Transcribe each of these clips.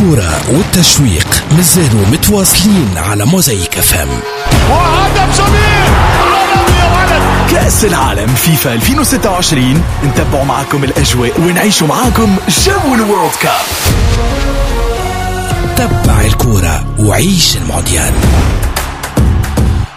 الكرة والتشويق مازالوا متواصلين على موزايك FM. وهدف جميل عالمي يا ولد. كأس العالم فيفا 2026، نتبعوا معاكم الأجواء ونعيشوا معاكم جو ال World Cup. تبع الكرة وعيش المونديال.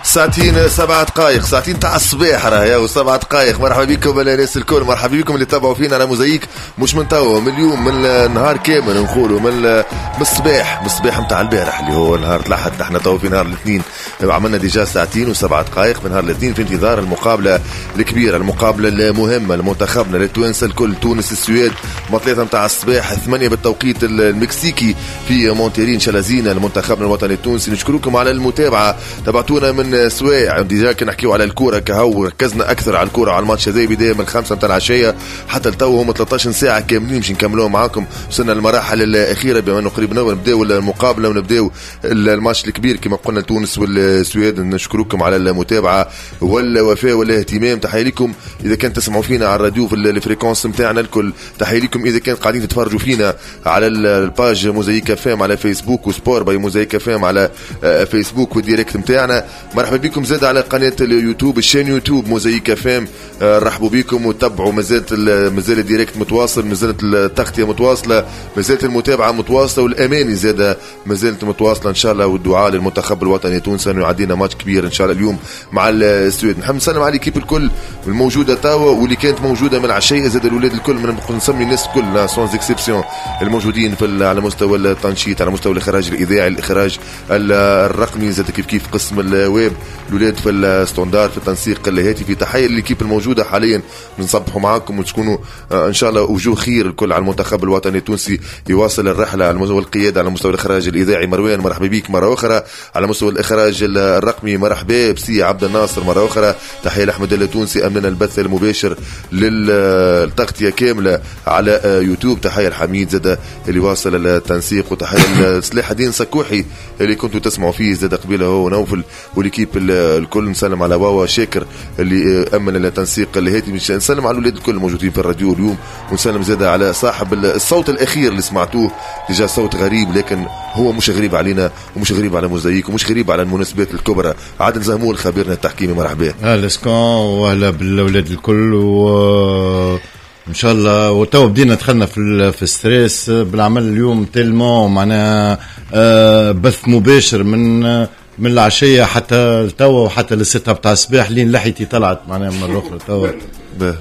ساعتين 7 دقائق، ساعتين تاع الصباح راهي و7 دقائق. مرحبا بكم الناس الكل، مرحبا بكم اللي تابعوا فينا على موزايك، مش من توا، من اليوم، من النهار كامل نقولوا، من الصباح نتاع البارح اللي هو نهار الاحد. نحن توا في نهار الاثنين، عملنا déjà ساعتين و7 دقائق من نهار الاثنين في انتظار المقابلة الكبيره، المقابلة المهمة لمنتخبنا، للتوانسه الكل، تونس السويد، مع 3 نتاع الصباح، 8 بالتوقيت المكسيكي في مونتيري. ان شاء الله زينة لمنتخبنا الوطني التونسي. نشكركم على المتابعه، تابعتونا من سوايع déjà كي نحكيو على الكورة كهو، ركزنا اكثر على الكوره، على الماتش هذا، بداية من 5 نتاع العشية حتى لتو، هم 13 ساعة كاملين باش نكملوهم معاكم. وصلنا للمراحل الاخيره، بما انه قريب نبداو المقابلة ونبداو الماتش الكبير كما قلنا، تونس والسويد. نشكركم على المتابعة والوفاء والاهتمام. تحية لكم اذا كان تسمعوا فينا على الراديو في ال fréquences نتاعنا الكل، تحية لكم اذا كان قاعدين تتفرجوا فينا على ال page موزايك FM على فيسبوك و Sport by موزايك FM على فيسبوك وال direct نتاعنا. مرحبا بكم زاد على قناة اليوتيوب، ال chaîne يوتيوب موزايك FM. رحبوا بكم وتبعوا، مازال ال direct متواصل، مازالت التغطية متواصله، مازالت المتابعة متواصله، والاماني زاد مازالت متواصلة ان شاء الله، والدعاء للمنتخب الوطني التونسي انه يعدينا ماتش كبير ان شاء الله اليوم مع السويد. نحب نسلم على l'équipe الكل الموجودة توا واللي كانت موجودة من العشيه، زاد الاولاد الكل، من نسمي الناس الكل sans exception الموجودين على مستوى التنشيط، على مستوى الاخراج الاذاعي، الاخراج الرقمي، زاد كيف كيف قسم الويب، الاولاد في ال standard، في التنسيق الهاتفي. تحية لل équipe الموجودة حاليا، نصبحوا معاكم وتكونوا ان شاء الله وجوه خير الكل على المنتخب الوطني التونسي يواصل الرحلة على مستوى القياده. على مستوى الاخراج الاذاعي مروان، مرحبا بك مرة اخرى. على مستوى الاخراج الرقمي مرحبا بسي عبد الناصر مرة اخرى. تحية لاحمد التونسي امننا البث المباشر للتغطيه كاملة على يوتيوب. تحية لحميد زاد اللي واصل التنسيق، وتحية لسلاح الدين سكوحي اللي كنتوا تسمعوا فيه زاد قبيلة هو نوفل و l'équipe الكل. نسلم على واوا شاكر اللي امن التنسيق الهاتفي. نسلم على الاولاد الكل الموجودين في الراديو اليوم، ونسلم زاد على صاحب الصوت الاخير اللي سمعتوه déjà، صوت غريب لكن هو مش غريب علينا ومش غريب على موزايك ومش غريب على المناسبات الكبرى، عادل زهمول خبيرنا التحكيمي، مرحبا. اهلا سكون واهلا بالاولاد الكل، و ان شاء الله وتو بدينا دخلنا في stress بالعمل اليوم tellement معناها بث مباشر من العشية حتى توا وحتى للستة بتاع الصباح، لين لحيتي طلعت معناها مرة اخرى توا.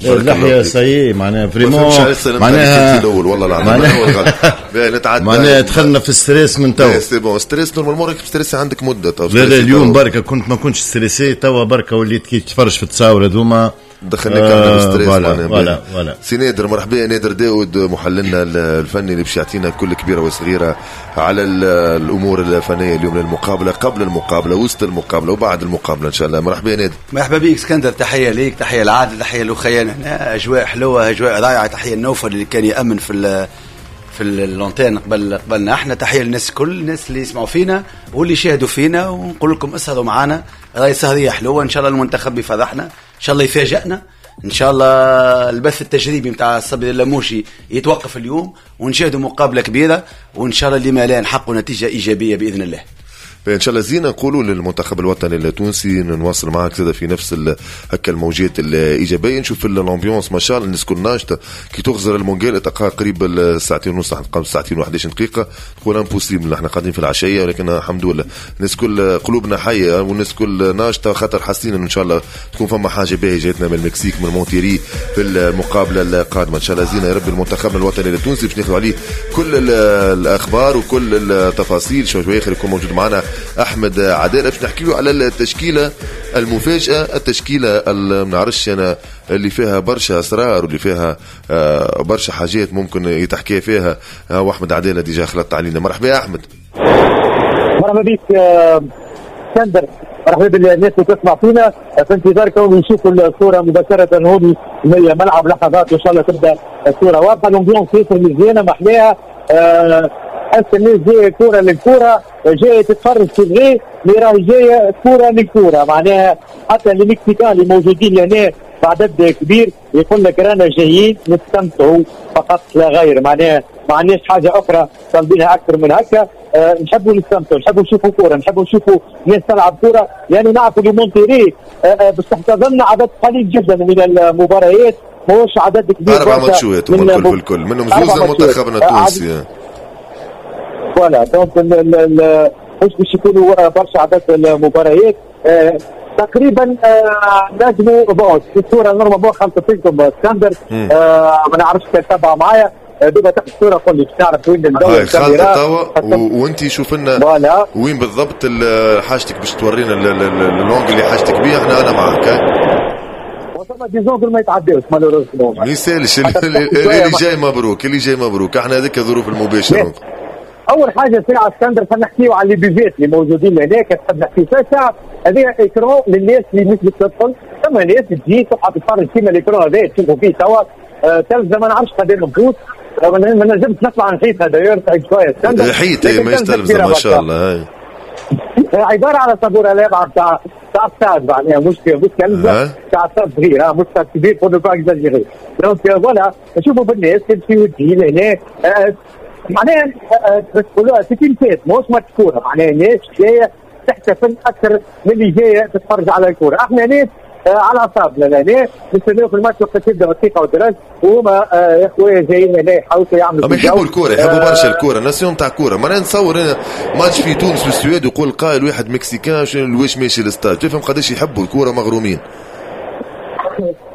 اللحية ça y est معناها vraiment معناها الاول والله العظيم. معناها دخلنا في stress من توا. c'est bon، stress normalement راك stressé عندك مده. تو لا لا، اليوم بركة كنت ما كنتش stressé، توا بركة وليت كي تفرج في التصاور هذوما. دخلناك احنا stress. voilà voilà voilà. سي نادر، مرحبا نادر داود، محللنا الفني اللي باش يعطينا كل كبيرة وصغيره على الامور الفنية اليوم للمقابله، قبل المقابله، وسط المقابله، وبعد المقابلة ان شاء الله. مرحبا نادر. مرحبا بك اسكندر، تحية ليك، تحية لعادل، تحية لخيان هنا، اجواء حلوه، اجواء رائعه. تحية لنوفل اللي كان يامن في l'antenne قبلنا احنا. تحية للناس كل، الناس اللي يسمعوا فينا واللي يشاهدوا فينا، ونقول لكم اسهروا معنا، راهي سهريه حلوه. ان شاء الله المنتخب يفرحنا، ان شاء الله يفاجئنا، ان شاء الله البث التجريبي نتاع الصبري اللموشي يتوقف اليوم ونشاهدوا مقابله كبيره، وان شاء الله لما لا نحققوا نتيجة ايجابية باذن الله. ان شاء الله زينة نقولوا للمنتخب الوطني التونسي. نواصل معك زاد في نفس هكا الموجات الايجابيه. نشوف l'ambiance ما شاء الله، الناس كل ناشطه. كي تغزر المونجال تلقاها قريب الساعتين ونص، ساعتين و11 دقيقه، تقول impossible احنا قاعدين في العشيه، ولكن الحمد لله الناس كل قلوبنا حيه والناس كل ناشطه، خاطر حاسين ان شاء الله تكون فما حاجة باهيه جاتنا من المكسيك، من مونتيري، في المقابلة القادمه. ان شاء الله زينة يا ربي المنتخب الوطني التونسي، باش ناخذ عليه كل الاخبار وكل التفاصيل. شوي اخر يكون موجود معنا احمد عدالة باش نحكيو على التشكيلة المفاجاه، التشكيلة ما نعرفش انا اللي فيها برشا اسرار واللي فيها برشا حاجات ممكن يتحكي فيها. واحمد عدالة déjà خلطت علينا، مرحبا يا احمد. مرحبا بك اسكندر، مرحبا بالناس اللي تسمع فينا. في انتظاركم نشوفوا الصورة مباشرة هون من الملعب، لحظات ان شاء الله تبدا الصورة واضحه. l'ambiance ياسر مزيانه، محلاها، حس الناس جاية كورة للكوره، جاية تتفرج في vrai، mais راهي جاية كورة للكوره. معناها حتى les Mexicains اللي موجودين لهنا بعدد كبير، يقول لك رانا جايين نستمتعوا فقط لا غير، معناها ما عندناش حاجة اخرى طالبينها اكثر من هكا. نحبوا نستمتعوا، نحبوا نشوفوا كورة، نحبوا نشوفوا ناس تلعب كورة، لانه نعرفوا اللي مونتيري باش تحتضن عدد قليل جدا من المباريات، ماهوش عدد كبير. 4 ماتشات هما الكل بالكل، منهم زوز لمنتخبنا التونسي. voilà donc مش باش يكونوا برشا عدد المباريات تقريبا. نجموا bon الصورة normalement خلطت لكم اسكندر، ما نعرفش كان تبع معايا دوبا تحت الصورة، قول لي باش نعرف وين ندور الكاميرا وانت شوف لنا وين بالضبط حاجتك باش تورينا l'angle اللي حاجتك بيه، احنا انا معاك. وثم des angles ما يتعداوش malheureusement، ما يسالش اللي جاي مبروك، اللي جاي مبروك، احنا هذيك الظروف المباشرة. اول حاجة ساعة اسكندر خلينا نحكيو على les buvettes اللي موجودين هناك، تحب نحكي فيها ساعة. هذه écran للناس اللي مش بتدخل، ثم ناس تجي تقعد تتفرج كيما l'écran هذا تشوفوا فيه توا تلفزه ما نعرفش قدام البوت، ما نجمش نطلع نحيتها d'ailleurs تعب شوية اسكندر. حيت ماهيش تلفزه ما شاء الله، هاي عبارة على صابوره لابعه تاع ستاد، معناها مش تلفزه تاع ستاد صغير، مش ستاد كبير pour ne pas exagérer. donc voilà نشوفوا بالناس تمشي وتجي لهنا، معناها باش تقولوها c'est une fête، ماهوش ماتش كورة، معناها الناس جاية تحتفل اكثر من اللي جاية تتفرج على الكورة. احنا ناس على اعصابنا لهنا نستناو في الماتش وقت يبدا بالثقة والدرج، وهما يا خويا جايين هنا يحاولوا يعملوا. يحبوا الكورة، يحبوا برشا الكورة، nation تاع كورة. معناها نتصور انا ماتش في تونس والسويد ويقول قائل واحد mexicain واش ماشي للستاد، تفهم قداش يحبوا الكورة مغرومين.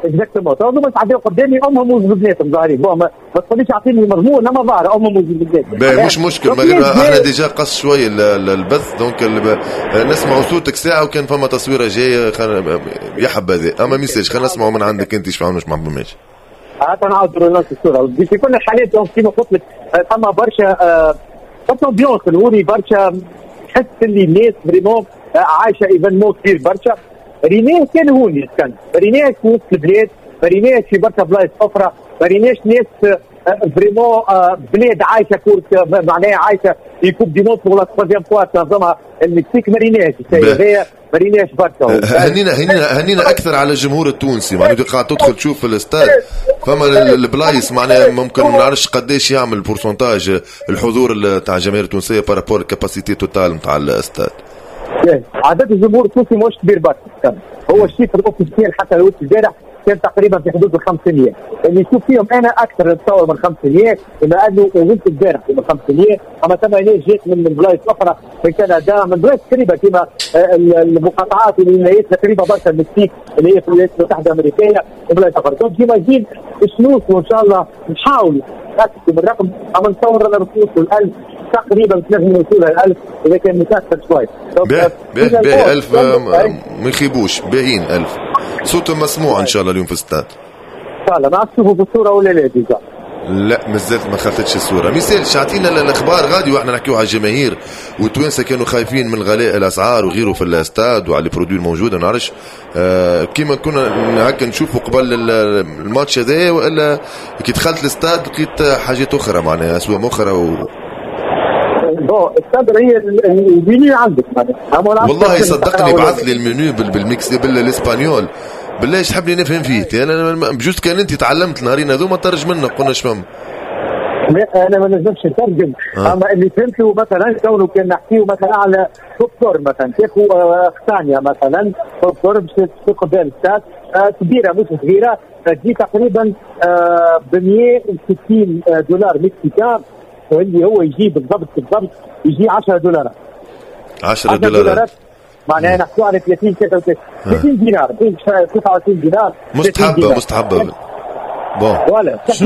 exactement، تو هما تعداو قدامي امهم وزوجاتهم ظاهرين، bon ما تقوليش اعطيني المضمون، اما ظاهر امهم وزوجاتهم. مش مشكل، احنا déjà قص شوية البث، donc نسمعوا صوتك ساعة، وكان فما تصويره جاية يا حبذا، اما message خلينا نسمعوا من عندك انت ايش فهمنا ما فهمناش. هات نعاود نفس الصورة في كل الحالات. donc كيما قلت لك فما برشا برشا ambiance الهوني، برشا تحس اللي الناس vraiment عايشه événement كبير برشا. ريناه كان هوني كان ريناه في وسط البلاد، ريناه في برشا بلايص اخرى، ريناش ناس vraiment بلاد عايشه كورة، معناها عايشه في coupe du monde pour la troisième fois تنظمها المكسيك، ما ريناش الشيء هذايا، ما ريناش برشا. هنينا اكثر على الجمهور التونسي، معناها قاعد تدخل تشوف في الاستاد فما البلايص، معناها ممكن ما نعرفش قداش يعمل pourcentage الحضور تاع الجماهير التونسية par rapport ال capacité totale نتاع الاستاد. عدد الجمهور التونسي مش كبير برشا، هو ال chiffre officiel حتى لو البارح كان تقريبا في حدود ال 500، اللي نشوف فيهم انا اكثر نتصور من 500، بما انه وزنت البارح من 500، اما ثم ناس جات من بلايص اخرى من كندا، من بلايص قريبه كما المقاطعات والولايات قريبه برشا المكسيك اللي هي في الولايات المتحدة الامريكية وبلايص اخرى. donc j'imagine باش نوصلوا ان شاء الله، نحاولوا نتاكدوا من الرقم، اما نتصور انا باش نوصلوا 1000 تقريبا، تنجم نوصلوا 1000 اذا كان متاثر شوي. باهي 1000 ما يخيبوش، باهيين 1000 صوت مسموع ان شاء الله اليوم في الاستاد. ان شاء الله. ما تشوفوا في الصورة ولا لا déjà؟ لا مازالت ما خلطتش الصورة. ميسالش اعطينا الاخبار غادي، واحنا نحكيو على الجماهير والتوانسه كانوا خايفين من غلاء الاسعار وغيره في الاستاد وعلى les produits الموجودة، ما نعرفش كيما كنا هكا نشوفوا قبل الماتش هذا، والا كي دخلت الاستاد لقيت حاجات اخرى، معناها اسوام اخرى bon اسكندر هي المنيو عندك معناها. والله صدقني بعث لي ال menu بال mex بال espagnol، بالله ايش تحبني نفهم فيه انا؟ بجوز كان انت تعلمت النهارين هذوما ترجم لنا، قلنا اش فهم. لا انا ما نجمش نترجم، اما اللي فهمته مثلا كونه كان نحكيو مثلا على بوب كورن مثلا، تاخذ ثانية مثلا بوب كورن باش تاخذ بها الاستاد كبيرة مش صغيرة، تجي تقريبا ب 160 دولار mexicain، واللي هو يجي بالضبط بالضبط يجي 10 دولارات. 10 دولارات معناها نحكوا على 30 33 30 دينار 29 دينار. مستحبة مستحبة bon voilà.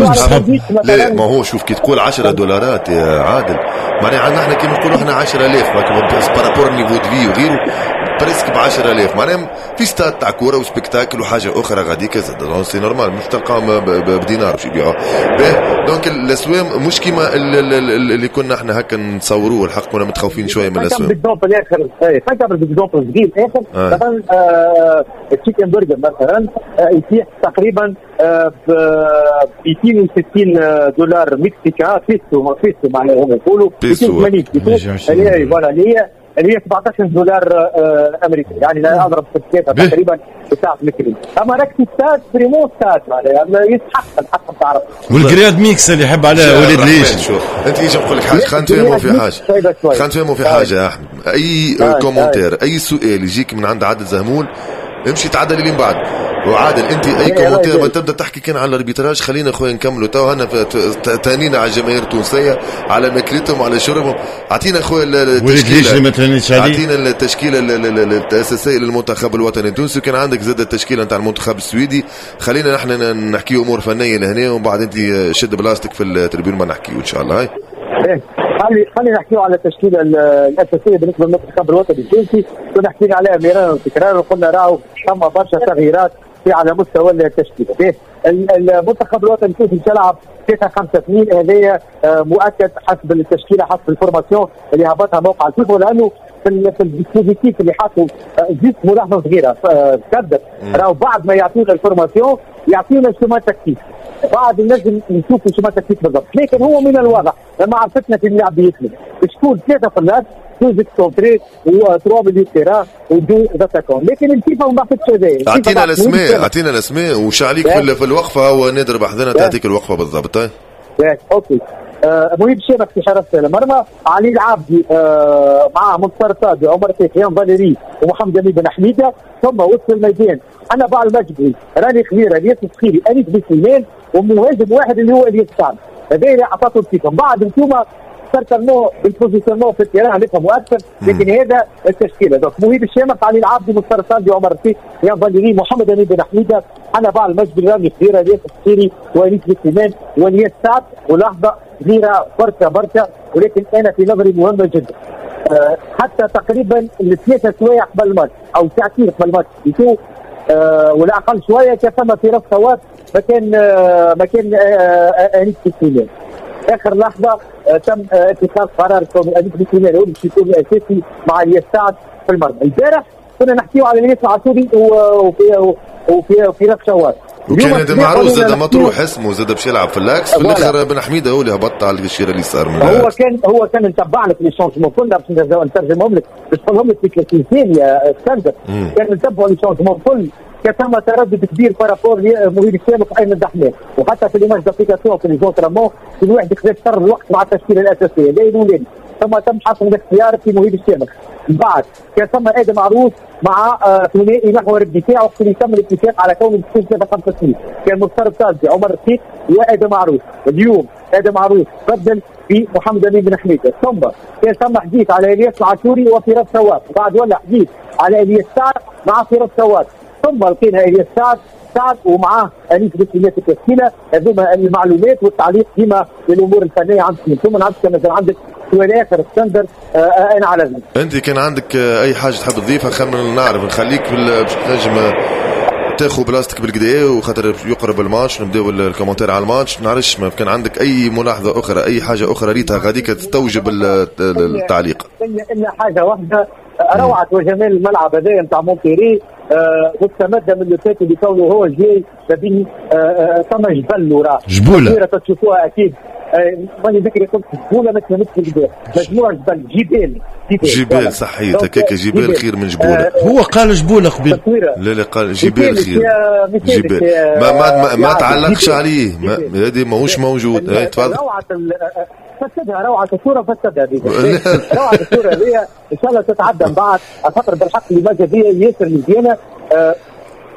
لا ما هو شوف كي تقول 10 دولارات يا عادل، معناها عندنا احنا كيما نقولوا احنا 10000 par rapport niveau de vie وغيره presque ب 10000، معناها في ستاد تاع كورة و spectacle وحاجه اخرى غاديك زاد، donc c'est normal مش تلقاهم بدينار باش يبيعوه. donc الاسوام مش كيما اللي كنا احنا هكا نصوروه، الحق كنا متخوفين شوية من الاسوام. بال exemple الاخر، خلينا بال exemple صغير اخر، مثلا ال chicken burger مثلا يتيح تقريبا ب 260 دولار mexicain، بيسو بيسو معناها هم يقولوا 280 بيسو، voilà اللي هي اللي هي $17 امريكي، يعني لا اضرب في الثلاثة تقريبا بساعة الكريم. اما راك stade vraiment stade معناها يستحق الحق نتاع ربي. وال grillade mixte اللي يحب عليها وليد ليش. شوف انت ايش نقول لك حاجة، خلينا نتفاهموا في حاجة، خلينا نتفاهموا في حاجة يا احمد. اي commentaire اي سؤال يجيك من عند عادل زهمول امشي تعدل اللي من بعد. وعادل انت اي commentaire ما تبدا تحكي كان على ال arbitrage، خلينا خويا نكملوا تو هنا تهنينا على الجماهير التونسية على ماكلتهم وعلى شربهم. اعطينا خويا التشكيلة، اعطينا التشكيلة الاساسية للمنتخب الوطني التونسي، وكان عندك زاد التشكيلة نتاع المنتخب السويدي. خلينا نحن نحكي امور فنية لهنا ومن بعد انت شد بلاصتك في ال tribune ما نحكيو ان شاء الله. هاي خلينا نحكيو على التشكيلة الاساسية بالنسبة للمنتخب الوطني التونسي. كنا حكينا عليها مرارا وتكرارا وقلنا راهو ثم برشا تغييرات في على مستوى التشكيلة. المنتخب الوطني التونسي يلعب 3-5-2، هذايا مؤكد حسب التشكيلة حسب ال formation اللي هبطها موقع الفيفا، لانه في ال dispositif اللي حاطه juste ملاحظة صغيرة كدر راهو بعد ما يعطيونا ال formation يعطيونا schéma tactique، بعد نجم نشوف schéma tactique بالضبط. لكن هو من الواضح لما عرفتنا في اللعب يسلم شكون 3 في اللاس 2 excentrés و 3 milieux terrain و 2 attaquants، لكن الفيفا ما بعثتش هذايا. اعطينا الاسماء، اعطينا الاسماء وش عليك في الوقفة، هو نادر بحذنا تعطيك الوقفة بالضبط. OK. مهيب شامخ في حراسة المرمى، علي العابدي معاه منتصر صادي، عمر سيحيان فاليري ومحمد امين بن حميده. ثم وسط الميدان حنبعل المجبري، راني خضيره، الياس السخيري، انيس بن سليمان، ومهاجم واحد اللي هو الياس سعد. هذا اللي عطاته الفيفا. بعد انتم certainement بال positionnement في ال terrain نفهموا اكثر، لكن هذا التشكيلة. donc مهيب الشامخ، علي العابدي، منتصر صادي، عمر سيحيان فاليري، محمد امين بن حميده، حنبعل المجبري، راني خضيره، الياس السخيري، وانيس بن سليمان، والياس سعد. ولحظة صغيرة بركة بركة، ولكن انا في نظري مهمة جدا. حتى تقريبا الثلاثة سوايع قبل الماتش او ساعتين قبل الماتش يشوف ولا اقل شوية، كان ثم في رفع صوت مكان انيس بن سليمان. اخر لحظة تم اتخاذ قرار كون انيس بن سليمان هو باش يكون اساسي مع الياس سعد في المرمى. البارح كنا نحكيو على الياس العاشوري وفي في رفع شوال، وكان هذا معروف زاد مطروح اسمه زاد باش يلعب في l'axe. في الاخر بن حميده هو اللي هبط على الشيره اليسار من هو كان نتبع لك les changements كلها باش نترجمهم لك باش نقولهم لك في 30 ثانية اسكندر. كان نتبعوا les changements كل، كان ثم تردد كبير par rapport لمهيب الشامخ وايمن دحمان، وحتى في les matchs d'application في les entraînements كل واحد خذا شطر الوقت مع التشكيلة الاساسية لا الاولاني. ثم تم حسم الاختيار في مهيب الشامخ. بعد كان ثم ادم عروس مع ثنائي محور الدفاع وقت اللي تم الاتفاق على كون 3-5-2، كان مختار الطالبي، عمر الرقيق، وادم عروس. اليوم ادم عروس بدل في محمد امين بن حميده. ثم كان ثم حديث على الياس العاشوري وفراس سواد، بعد ولا حديث على الياس سعد مع فراس سواد، ثم لقينا الياس سعد ومعاه انيس بن سليمان في التشكيلة. هذوما المعلومات والتعليق ديما للامور الفنية عندكم. ثم عندك مثلا عندك سؤال اخر اسكندر، انا على ذلك. انت كان عندك اي حاجة تحب تضيفها؟ خلينا نعرف نخليك باش تنجم تاخذ بلاصتك بالكدا، وخاطر يقرب الماتش نبداو ال commentaire على الماتش. نعرفش ما كان عندك اي ملاحظة اخرى، اي حاجة اخرى ريتها غاديك تستوجب التعليق؟ الا حاجة واحدة، روعه وجمال الملعب هذا نتاع مونتيري مستمدة من اللي فات اللي كونه هو جاي ما بين ثم جبل وراه جبوله تشوفوها اكيد. ماني ذكري قلت جبوله ما تفهمتش بالكدا، مجموعة جبل جبال جبال صحيح هكاك، جبال خير من جبوله. هو قال جبوله قبل. لا لا قال جبال خير جبال. ما ما ما تعلقش عليه، هذه ماهوش موجود. تفضل. روعه فسدها، روعه الصورة فسدها روعه الصورة هذه ان شاء الله تتعدى من بعد، خاطر بالحق l'image هذه ياسر مزيانه.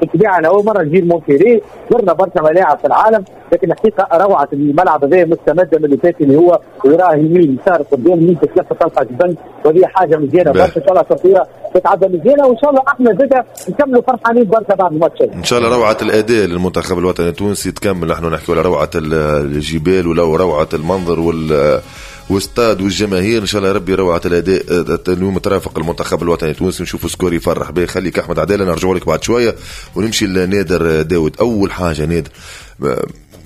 بالطبيعة انا اول مرة نجي مونتيري، زرنا برشا ملاعب في العالم، لكن الحقيقة روعه الملعب هذا مستمدة من اللي فات اللي هو وراه يمين يسار قدام يمين تتلف تلقى جبل، وهذه حاجة مزيانه برشا. ان شاء الله تصويره تتعدى مزيانه، وان شاء الله احنا زاده نكملوا فرحانين برشا بعد الماتش. ان شاء الله روعه الاداء للمنتخب الوطني التونسي تكمل. نحن نحكيو على روعه الجبال ولو روعه المنظر والستاد والجماهير. ان شاء الله ربي روعه الاداء اليوم ترافق المنتخب الوطني التونسي، نشوفوا score يفرح به. خليك احمد عدالة، نرجع لك بعد شوية ونمشي لنادر داود. اول حاجة نادر،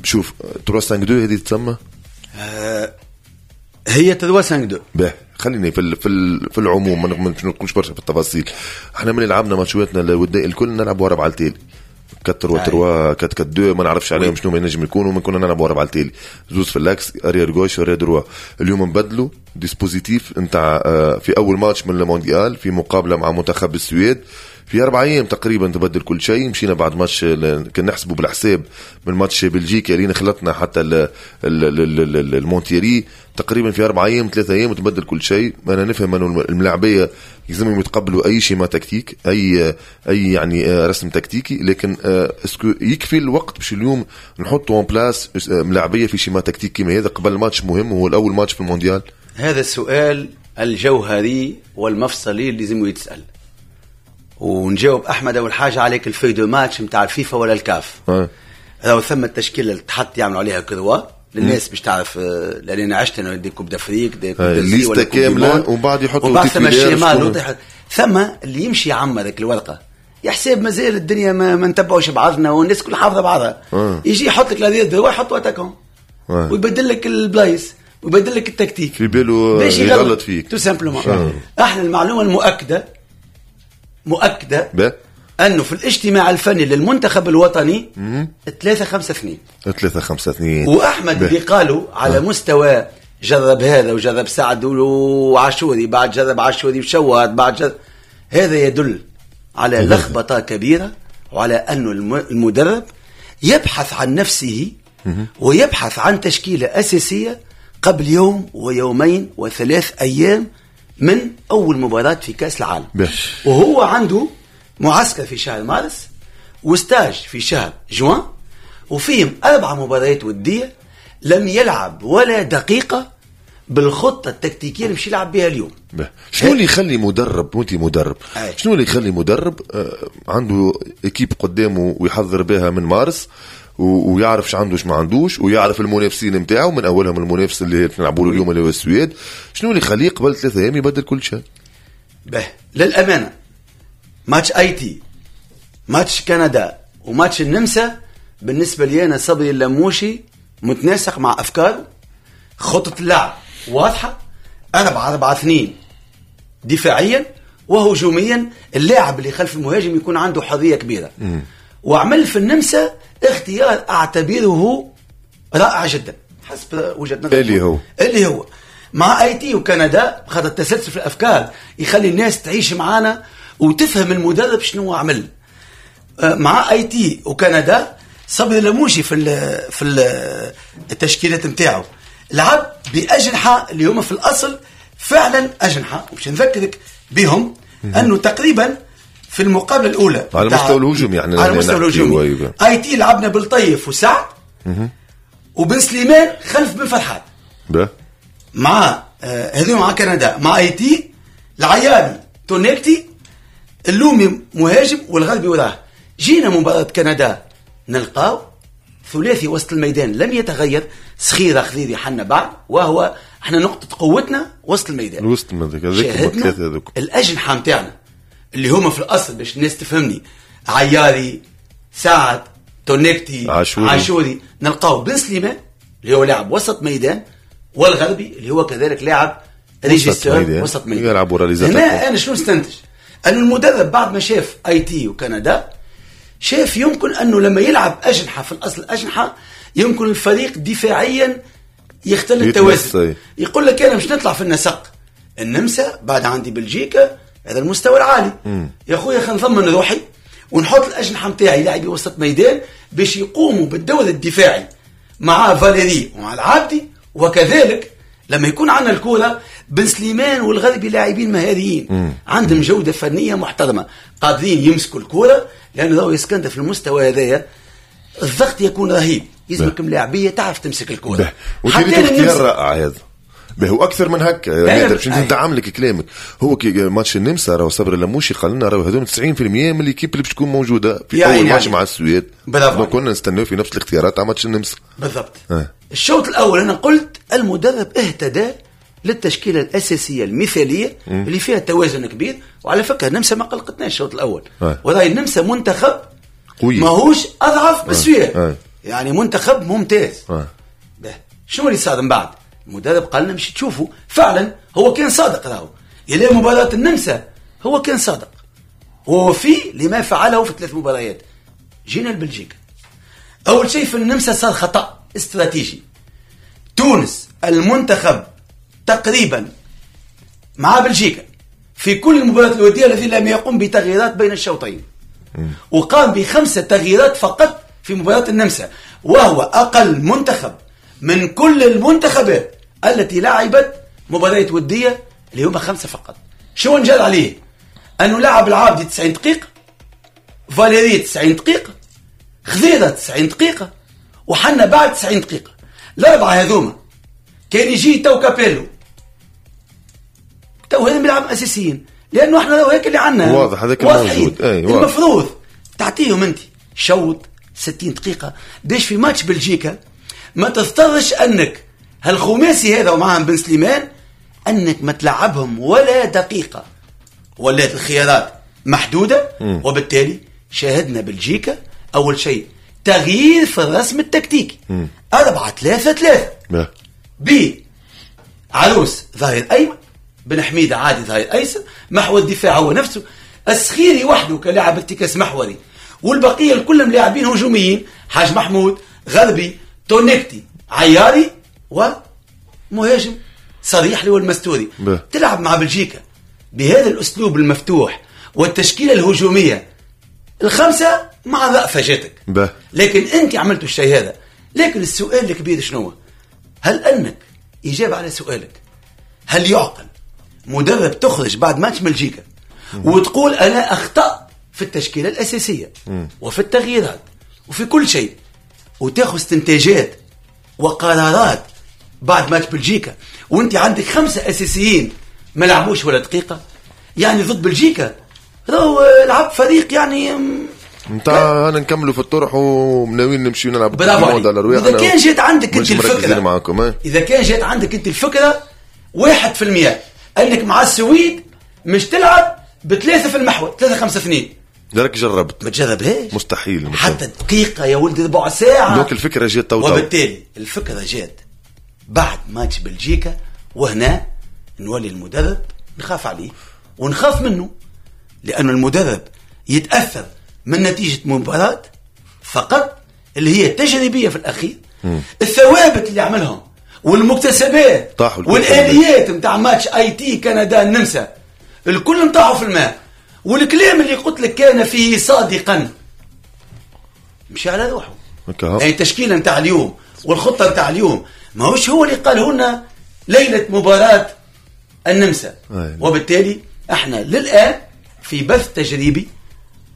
شوف 3-5-2 هذه تسمى هي 3-5-2. به خليني في في في العموم ما نقولش برشا في التفاصيل. احنا من لعبنا ماتشاتنا الودية الكل نلعبوا 4 التالي، 4 3 3 4 4 2، ما نعرفش عليهم شنو ما ينجم يكونوا. ما كنا نلعبوا 4 التالي، زوز في l'axe، arrière gauche، arrière droit. اليوم نبدلوا dispositif نتاع في اول ماتش من المونديال في مقابله مع منتخب السويد في 4 ايام تقريبا تبدل كل شيء. مشينا بعد ماتش كان نحسبوا بالحساب من ماتش بلجيكا اللي خلطنا حتى المونتيري تقريبا في 4 ايام 3 ايام تبدل كل شيء. انا نفهم انه الملاعبيه يلزمهم يتقبلوا اي schéma tactique، اي يعني رسم تكتيكي، لكن est-ce que يكفي الوقت باش اليوم نحطوا en place ملاعبيه في schéma tactique كيما هذا قبل ماتش مهم هو الاول ماتش في المونديال؟ هذا السؤال الجوهري والمفصلي اللي لازم يتسال. ونجاوب احمد اول حاجة عليك ال feuille de match نتاع الفيفا ولا الكاف. راهو ثم التشكيلة اللي تحط يعملوا عليها كروا للناس باش تعرف، لان انا عشت انا des coupes d'Afrique des coupes liste كاملة ومن بعد يحطوا وبعد ثم ال schéma، ثم اللي يمشي يعمر ذاك الورقة يحسب مازال الدنيا ما نتبعوش بعضنا والناس كل حافظه بعضها. يجي يحط لك l'arrière droit يحط attaquant ويبدل لك البلايص ويبدل لك التكتيك في باله يغلط فيك tout simplement. احنا المعلومة المؤكدة مؤكدة انه في الاجتماع الفني للمنتخب الوطني 3 5 2 3 5 2. واحمد اللي قالوا على مستوى جرب هذا وجرب سعد وعاشوري، بعد جرب عاشوري وشوات، بعد جرب هذا، يدل على لخبطة كبيرة وعلى انه المدرب يبحث عن نفسه ويبحث عن تشكيله اساسية قبل يوم ويومين وثلاث ايام من اول مباراة في كاس العالم. وهو عنده معسكر في شهر مارس و stage في شهر جوان، وفيهم 4 مباريات وديه لم يلعب ولا دقيقة بالخطة التكتيكيه اللي مش يلعب بها اليوم. شنو اللي يخلي مدرب، وانت مدرب، شنو اللي يخلي مدرب عنده équipe قدامه ويحضر بها من مارس ويعرف اش عنده ما عندوش ويعرف المنافسين نتاعو، من اولهم المنافس اللي نلعبوا له اليوم اللي هو السويد، شنو اللي يخليه قبل 3 ايام يبدل كل شيء؟ به للامانة ماتش ايتي، ماتش كندا، وماتش النمسا بالنسبة لي انا صبري اللموشي متناسق مع افكاره، خطه اللعب واضحة 4-4-2 دفاعيا وهجوميا، اللاعب اللي خلف المهاجم يكون عنده حرية كبيرة. وعمل في النمسا اختيار اعتبره رائع جدا حسب وجهه نظري، اللي هو مع ايتي وكندا، خاطر التسلسل في الافكار يخلي الناس تعيش معانا وتفهم المدرب شنو عمل. مع ايتي وكندا صبري لموشي في التشكيلات نتاعو لعب باجنحه اللي هما في الاصل فعلا اجنحة، وباش نذكرك بهم انه تقريبا في المقابلة الاولى على المستوى الهجومي، يعني على المستوى الهجومي ايتي لعبنا بالطيف وسعد وبن سليمان خلف بن فرحات مع هذول مع كندا. مع ايتي العياري تونيكتي اللومي مهاجم والغربي وراه. جينا مباراة كندا نلقاو ثلاثي وسط الميدان لم يتغير، صخيره خذيري حنا بعد، وهو احنا نقطة قوتنا وسط الميدان. وسط الميدان الاجنحة نتاعنا اللي هما في الاصل باش الناس تفهمني عياري سعد تونيكتي عاشوري، نلقاو بن سليمان اللي هو لاعب وسط ميدان، والغربي اللي هو كذلك لاعب régisseur وسط ميدان يلعب. هنا انا شنو نستنتج؟ أن المدرب بعد ما شاف ايتي وكندا شاف يمكن أنه لما يلعب أجنحة في الأصل أجنحة يمكن الفريق دفاعيا يختل التوازن. يقول لك أنا مش نطلع في النسق النمسا بعد عندي بلجيكا هذا المستوى العالي. يا خويا خلينا نضمن روحي ونحط الأجنحة نتاعي لاعبي وسط ميدان باش يقوموا بالدور الدفاعي مع فاليري ومع العابدي، وكذلك لما يكون عندنا الكرة بن سليمان والغربي لاعبين مهاريين عندهم جودة فنية محترمة قادرين يمسكوا الكرة، لأنه لو يسكندر في المستوى هذايا الضغط يكون رهيب، يلزمك ملاعبية تعرف تمسك الكرة. حتى اختيار رائع هذا به اكثر من هكا نادر باش ندعم لك كلامك. هو كي ماتش النمسا راهو صبري لموشي قال لنا راهو هذول 90% من l'équipe اللي باش تكون موجودة في يعني اول ماتش مع السويد، كنا نستناو في نفس الاختيارات تاع ماتش النمسا بالضبط. الشوط الاول انا قلت المدرب اهتدى للتشكيله الاساسية المثالية اللي فيها توازن كبير، وعلى فكرة النمسا ما قلقتناش الشوط الاول، وراي النمسا منتخب قوي ماهوش اضعف بالسويد، يعني منتخب ممتاز. شنو اللي صار من بعد؟ المدرب قال لنا مش تشوفوا فعلا هو كان صادق، راهو الى مباراة النمسا هو كان صادق، هو في لما فعله في 3 مباريات. جينا لبلجيكا، اول شيء في النمسا صار خطا استراتيجي. تونس المنتخب تقريبا مع بلجيكا في كل المباريات الودية الذي لم يقم بتغييرات بين الشوطين، وقام ب5 تغييرات فقط في مباراة النمسا، وهو أقل منتخب من كل المنتخبات التي لعبت مباريات ودية اللي هما 5 فقط. شو نجال عليه؟ أنه لعب العابدي 90 دقيقة، فاليري 90 دقيقة، خضيرة 90 دقيقة، وحنا بعد 90 دقيقة. الأربعة هذوما كان يجي تو كابيلو تو هذا بيلعب أساسيين، لأنه احنا لو هيك اللي عنا واضح هذاك الموجود. المفروض تعطيهم أنت شوط 60 دقيقة باش في ماتش بلجيكا ما تضطرش أنك هالخماسي هذا ومعهم بن سليمان أنك ما تلعبهم ولا دقيقة، ولات الخيارات محدودة. وبالتالي شاهدنا بلجيكا أول شيء تغيير في الرسم التكتيكي 4-3-3 بي عروس ظهير أيمن، بن حميدة عادي ظهير أيسر، محور الدفاع هو نفسه، السخيري وحده كلاعب ارتكاز محوري، والبقية الكل لاعبين هجوميين، حاج محمود، غربي، تونكتي، عياري، ومهاجم صريح اللي هو المستوري. تلعب مع بلجيكا بهذا الأسلوب المفتوح والتشكيلة الهجومية الخمسة مع ضعفة جاتك، لكن أنت عملتوا الشيء هذا. لكن السؤال الكبير شنو؟ هل أنك إجابة على سؤالك، هل يعقل مدرب تخرج بعد ماتش بلجيكا وتقول أنا أخطأت في التشكيلة الأساسية وفي التغييرات وفي كل شيء، وتاخذ استنتاجات وقرارات بعد ماتش بلجيكا وانت عندك 5 أساسيين ما لعبوش ولا دقيقة؟ يعني ضد بلجيكا راهو لعب فريق يعني نتاع انا نكملوا في الطرح ومناويين نمشيو نلعب. إذا كان جات عندك انت الفكرة، إذا كان جات عندك انت الفكرة 1% انك مع السويد مش تلعب ب3 في المحور 3-5-2، درك جربت ما تجربهاش، مستحيل حتى دقيقة يا ولدي، ربع ساعة. donc الفكرة جات تو، وبالتالي الفكرة جات بعد ماتش بلجيكا، وهنا نولي المدرب نخاف عليه ونخاف منه، لأن المدرب يتأثر من نتيجة مباراة فقط اللي هي تجريبية في الأخير. الثوابت اللي عملهم والمكتسبات والآليات متاع ماتش اي تي كندا النمسا الكل مطاحوا في الماء، والكلام اللي قلت لك كان فيه صادقا مشي على روحه. يعني التشكيلة نتاع اليوم والخطه نتاع اليوم ماهوش هو اللي قاله لنا ليلة مباراة النمسا. وبالتالي احنا للان في بث تجريبي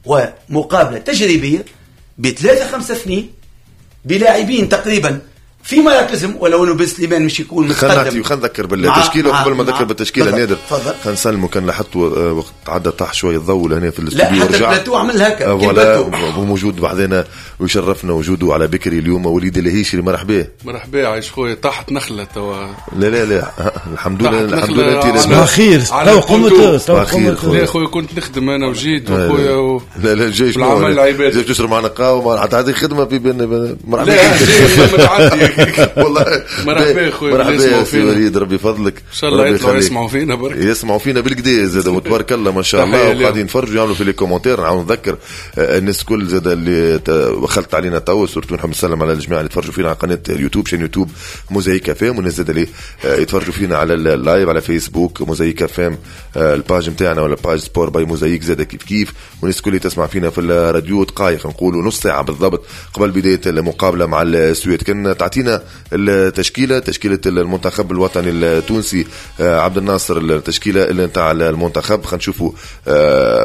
ومقابله تجريبية ب 3-5-2 بلاعبين تقريبا في مراكزهم، ولو انه بن سليمان مش يكون متقدم. خلينا نذكر بالتشكيله قبل ما نذكر بالتشكيله نادر، خلينا نسلموا. كان لاحظتوا وقت عدى طاح شوية الضوء لهنا في الاستوديو، لا حتى البلاتو عمل هكا ولا موجود بعدنا ويشرفنا وجوده على بكري اليوم. وليد الهيشري مرحبا. مرحبا عايش خويا، طاحت نخله توا. لا لا لا الحمد لله الحمد لله انت صباح الخير. تو قمت صباح الخير. لا خويا كنت نخدم انا وجيت وخويا لا لا جاي العمل العباد جاي تشرب معنا قهوة حتى هذه خدمة في مرحبا. والله مرحبا خويا، مرحبا يا سي وليد، ربي يفضلك ان شاء الله. يطلعوا يسمعوا فينا برك، يسمعوا فينا بالكدا زاد وتبارك الله ما شاء الله، وقاعدين يتفرجوا يعملوا في les commentaires. نعاود نذكر الناس الكل زاد اللي وخلت علينا تو، surtout نحب نسلم على الجماعة اللي يتفرجوا فينا على قناة اليوتيوب، chaîne يوتيوب موزايك اف ام، والناس زاد اللي يتفرجوا فينا على ال live على فيسبوك موزايك اف ام، ال page نتاعنا ولا page sport by موزايك زاد كيف كيف. والناس الكل اللي تسمع فينا في الراديو دقائق نقولوا نص ساعة بالضبط قبل بداية المقابلة مع السويد. كان تعطينا التشكيلة، تشكيله المنتخب الوطني التونسي عبد الناصر، التشكيلة اللي نتاع المنتخب. خلينا نشوفوا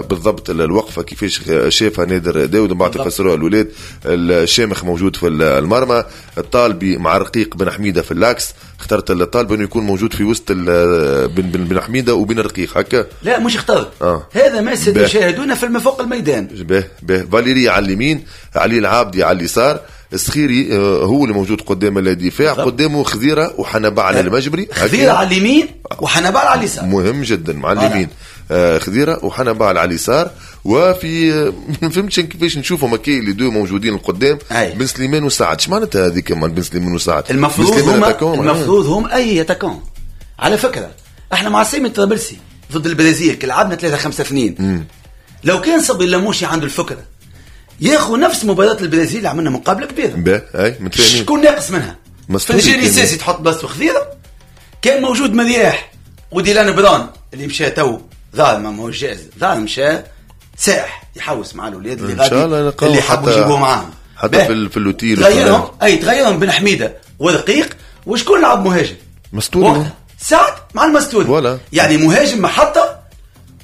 بالضبط الوقفة كيفاش شافها نادر داود ومن بعد تفسروها الاولاد. الشامخ موجود في المرمى، الطالبي مع رقيق بن حميده في l'axe. اخترت الطالب انه يكون موجود في وسط بن حميده وبين الرقيق هكا. لا مش اخترت هذا ما ستشاهدونه في فوق الميدان. به فاليري على اليمين، علي العابدي على اليسار، السخيري هو اللي موجود قدام الدفاع، قدامه خذيره وحنبعل المجبري. خذيره على اليمين وحنبعل على اليسار، مهم جدا مع اليمين. خذيره وحنبعل على اليسار. وفي ما فهمتش كيفاش نشوفهم كي les deux موجودين القدام، بن سليمان وسعد. اش معناتها هذيك بن سليمان وسعد؟ المفروض هم اي attaquants. على فكرة احنا مع سيمي الطرابلسي ضد البرازيل لعبنا 3-5-2. لو كان صبري اللموشي عنده الفكرة ياخذ نفس مباراة البرازيل اللي عملنا مقابله كبيرة. اي متفاهمين. شكون ناقص منها؟ فرجاني ساسي تحط بلاصتو خضيره، كان موجود مرياح وديلان بران اللي مشى تو ظاهر ما هوش جاهز، ظاهر مشى سائح يحوس مع الاولاد اللي غادي اللي حبوا يجيبوه معاهم حتى في l'hôtel. تغيرهم اي تغيرهم بن حميده ورقيق، وشكون لعب مهاجم؟ مستوري سعد مع المستوري voilà. يعني مهاجم محطة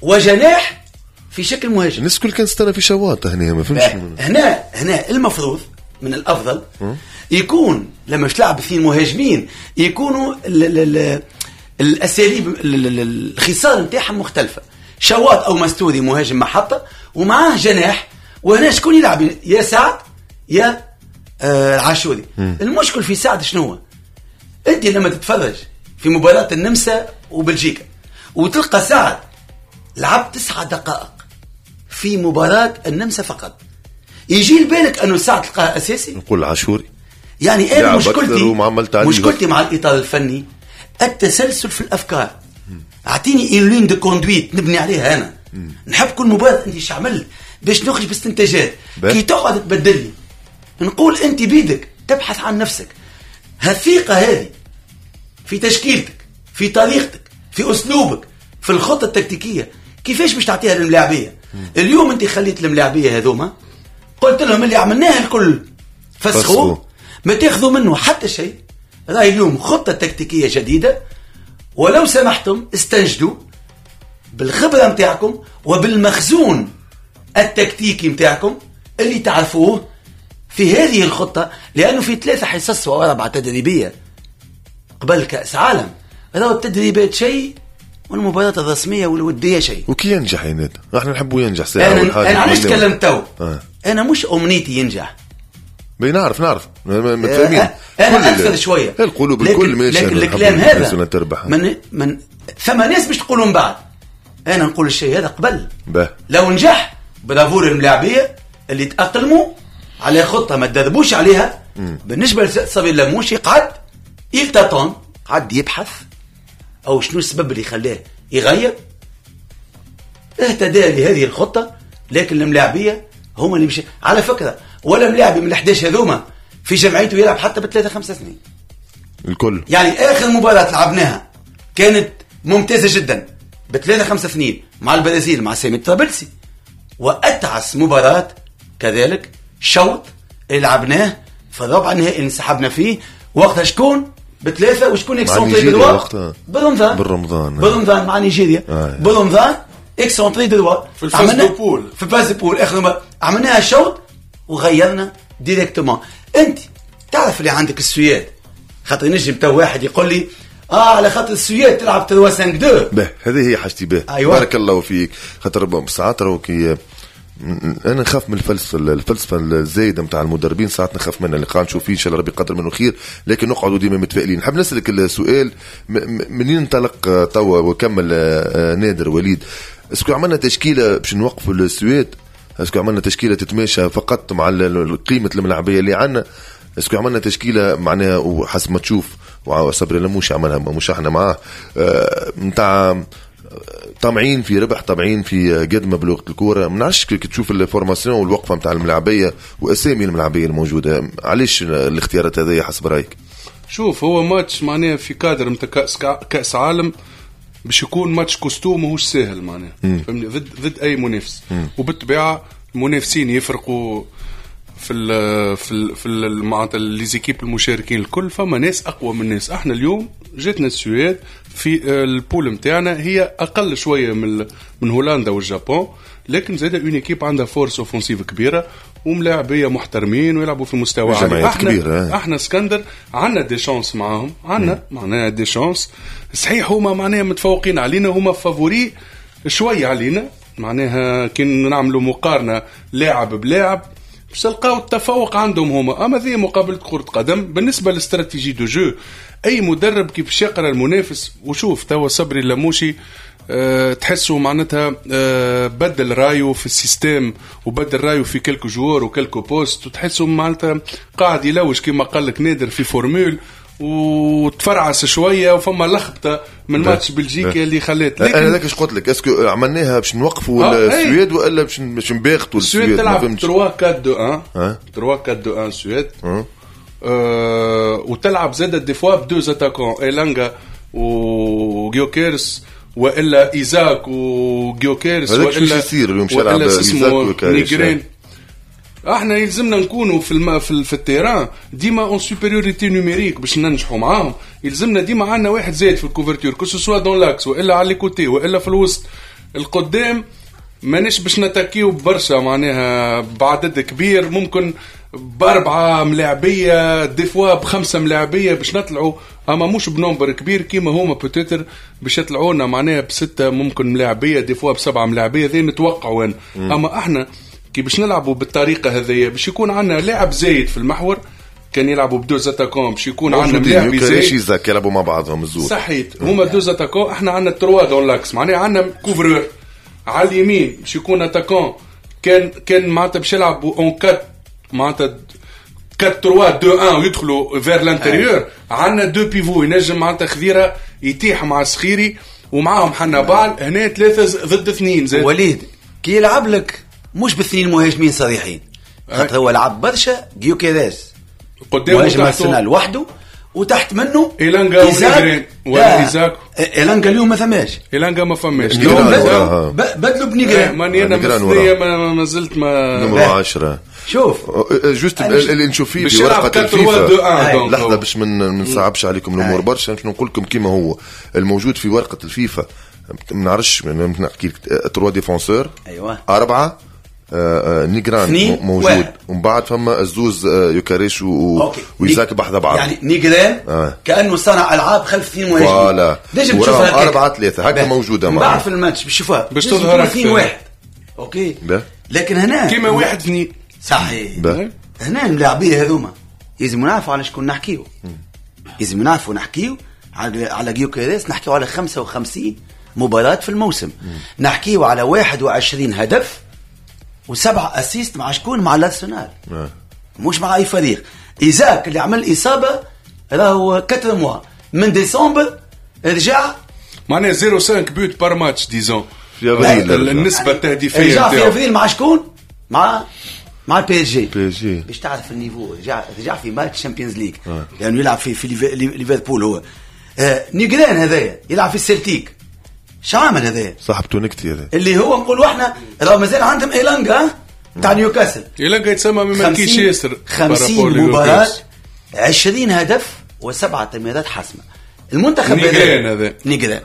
وجناح في شكل مهاجم. الناس الكل كانت تستنى في شواطه هنا، ما فهمتش هنا المفروض من الافضل يكون لما تلعب اثنين مهاجمين يكونوا الاساليب الخصال نتاعهم مختلفة. شواط او مستوري مهاجم محطة ومعاه جناح، وهنا شكون يلعب؟ يا سعد يا العاشوري. المشكل في سعد شنو هو؟ انت لما تتفرج في مباراة النمسا وبلجيكا وتلقى سعد لعب 9 دقائق في مباراة النمسا فقط، يجي لبالك انه سعد تلقاه اساسي؟ نقول العاشوري. يعني انا مشكلتي مع الاطار الفني التسلسل في الافكار. اعطيني une ligne de conduite نبني عليها انا. نحب كل مباراة انت ايش عملت باش نخرج باستنتاجات. كي تقعد تبدلني نقول انت بيدك تبحث عن نفسك. هالثقه هذه في تشكيلتك، في طريقتك، في اسلوبك، في الخطة التكتيكيه، كيفاش باش تعطيها للملاعبيه؟ اليوم انت خليت الملاعبيه هذوما قلت لهم اللي عملناه الكل فسخوه، ما تاخذوا منه حتى شيء. راهي اليوم خطه تكتيكية جديدة، ولو سمحتم استنجدوا بالخبرة نتاعكم وبالمخزون التكتيكي نتاعكم اللي تعرفوه في هذه الخطة، لانه في 3 حصص و4 تدريبية قبل كاس عالم، راهو التدريبات شيء والمباراة الرسمية والوديه شيء. وكي ينجح يا نادر، احنا نحبوا ينجح ساعة. انا علاش تكلمت تو؟ انا مش امنيتي ينجح. نعرف متفاهمين. انا اكثر شوية القلوب الكل ماشي، لكن الكلام هذا من ثم ناس باش تقولوا من بعد. انا نقول الشيء هذا قبل. لو نجح برافور الملاعبيه اللي تاقلموا على خطه ما تدربوش عليها. بالنسبة لصبري اللموشي قعد il tâtonne، قعد يبحث او شنو السبب اللي خلاه يغير، اهتدى لهذه الخطة. لكن الملاعبيه هما اللي مشي على فكرة، ولا ملاعبي من 11 هذوما في جمعيته يلعب حتى ب3-5-2 الكل. يعني اخر مباراة لعبناها كانت ممتازة جدا ب3-5-2 مع البرازيل مع سامي الطرابلسي، واتعس مباراة كذلك شوط اللي لعبناه في الربع النهائي اللي انسحبنا فيه، وقتها شكون ب3 وشكون excentré droit؟ بالرمضان مع نيجيريا. بالرمضان excentré droit في ال phase de poules، في ال phase de poules اخر مرة عملناها شوط وغيرنا directement. انت تعرف اللي عندك السويد، خاطر نجم تو واحد يقول لي على خاطر السويد تلعب 3-5-2. به هذه هي حاجتي به. أيوة. بارك الله فيك. خاطر ساعات راهو كي انا نخاف من الفلسفة الزايدة نتاع المدربين، ساعات نخاف منها اللي قاعد نشوف فيه، ان شاء الله ربي يقدر منه خير، لكن نقعدوا ديما متفائلين. نحب نسالك السؤال منين انطلق توا وكمل نادر وليد، est-ce que عملنا تشكيله باش نوقفوا السويد؟ est-ce que عملنا تشكيله تتماشى فقط مع قيمة الملاعبيه اللي عندنا؟ est-ce que عملنا تشكيله معناها وحسب ما تشوف وصبري لموش عملها مش احنا معاه نتاع طامعين في ربح، طامعين في قدمه بلغه الكورة؟ ما نعرفش كي تشوف ال formation والوقفه نتاع الملاعبيه واسامي الملاعبيه الموجودة، علاش الاختيارات هذه حسب رايك؟ شوف، هو ماتش معناها في كادر نتاع كاس عالم باش يكون match costaud ماهوش ساهل معناها، فهمني، ضد اي منافس. وبالطبيعه المنافسين يفرقوا في ال في ال في معناتها les équipes المشاركين الكل، فما ناس اقوى من ناس. احنا اليوم جاتنا السويد في ال poule نتاعنا هي اقل شوية من هولندا والجابون، لكن زاد une équipe عندها force offensive كبيرة وملاعبيه محترمين ويلعبوا في مستوى عالي. احنا اسكندر عندنا des chances معاهم، عندنا معناها des chances. صحيح هما معناها متفوقين علينا، هما favoris شوية علينا، معناها كي نعملوا مقارنة لاعب بلاعب باش تلقاو التفوق عندهم هما. اما ذي مقابله كره قدم. بالنسبة لل stratégie de jeu، اي مدرب كيف يقرا المنافس، وشوف توا صبري اللموشي تحسوا معناتها بدل رايو في ال système وبدل رايو في quelques joueurs و quelques postes، وتحسوا معناتها قاعد يلوج كما قال لك نادر في formule، وتفرعس شوية وفما لخبطة من ماتش بلجيكا اللي خلات. لكن انا هذاك اش قلت لك، est-ce que عملناها باش نوقفوا السويد والا باش نباغتوا السويد؟ السويد تلعب 3 4 2 1 3 4 2 1 السويد، وتلعب زاد des fois ب deux attaquants، ايلانجا وجيوكيرس والا ايزاك وجيوكيرس، والا يصير اليوم ولا اسمه نيجرين. احنا يلزمنا نكونوا في ال terrain ديما en supériorité numérique باش ننجحوا معاهم. يلزمنا ديما عندنا واحد زايد في ال couverture، que ce soit dans l'axe والا على les côtés والا في الوسط. القدام مانيش باش نتاكيو برشا معناها بعدد كبير، ممكن باربعة ملاعبيه des fois بخمسة ملاعبيه باش نطلعوا، اما مش ب nombre كبير كيما هما peut-être باش يطلعونا معناها بسته ممكن ملاعبيه، des fois بسبعة ملاعبيه، ذي نتوقعوا انا. اما احنا كي باش نلعبوا بالطريقة هذيا باش يكون عندنا لاعب زايد في المحور، كان يلعبوا ب deux attaquants باش يكون عندنا ملاعب زايد، يوكاريش يلعبوا مع بعضهم الزوز صحيت، هما deux attaquants، احنا عندنا trois dans l'axe، معناها عندنا couvreur على اليمين باش يكون attaquant، كان معناتها باش يلعبوا en 4 معناتها 4 3 2 1 ويدخلوا vers l'intérieur. عندنا deux pivots ينجم معناتها خذيره يتيح مع السخيري ومعاهم حنبال، هنا 3 ضد 2 زاد. وليد كي يلعب لك مش باثنين مهاجمين صريحين، خاطر هو لعب برشا جيوكيريس قدام مهاجم ارسنال وحده، وتحت منه إيلانجا ونيجرين ولا إيزاك. إيلانجا اليوم ما ثماش، إيلانجا ما فماش، بدلوا بنيجرين. ماني انا مثلية ما زلت ما نمرو 10. شوف juste اللي نشوف فيه في ورقة الفيفا، لحظة باش ما نصعبش عليكم الامور برشا، باش نقول لكم كيما هو الموجود في ورقة الفيفا. ما نعرفش نحكي لك 3 défenseurs، ايوه 4 نيجران موجود، ومن بعد فما الزوز يوكاريش وإيزاك بحذا بعض، يعني نيجران كأنه صنع ألعاب خلف اثنين مهاجمين، voilà تشوفها 4 3 هكا موجودة معنا بعد في الماتش باش تشوفها باش تظهر 2-1 OK. لكن هنا كيما 1-2 صحيح. هنا الملاعبية هذوما لازم نعرفوا على شكون نحكيو، لازم نعرفوا نحكيو على جيوكيريس، نحكيو على 55 مباراة في الموسم، نحكيو على 21 هدف و7 assists مع شكون؟ مع الارسنال، مش مع اي فريق. ايزاك اللي عمل اصابه راهو 4 mois من ديسمبر رجع، معناها 0.5 buts par match disons في افريل، النسبة التهديفيه رجع في افريل مع شكون؟ مع ال PSG باش تعرف ال niveau. رجع في ماتش Champions League لانه يلعب في ليفربول هو. نيجران هذايا يلعب في السلتيك، شعامل هذا صاحبته نكتي هذا اللي هو نقولوا احنا راه مازال عندهم ايلانجا تاع نيوكاسل، ايلانجا يتسمى ما ماركيش ياسر، 50 مباراة 20 هدف و7 تمريرات حاسمة. المنتخب هذا نيجران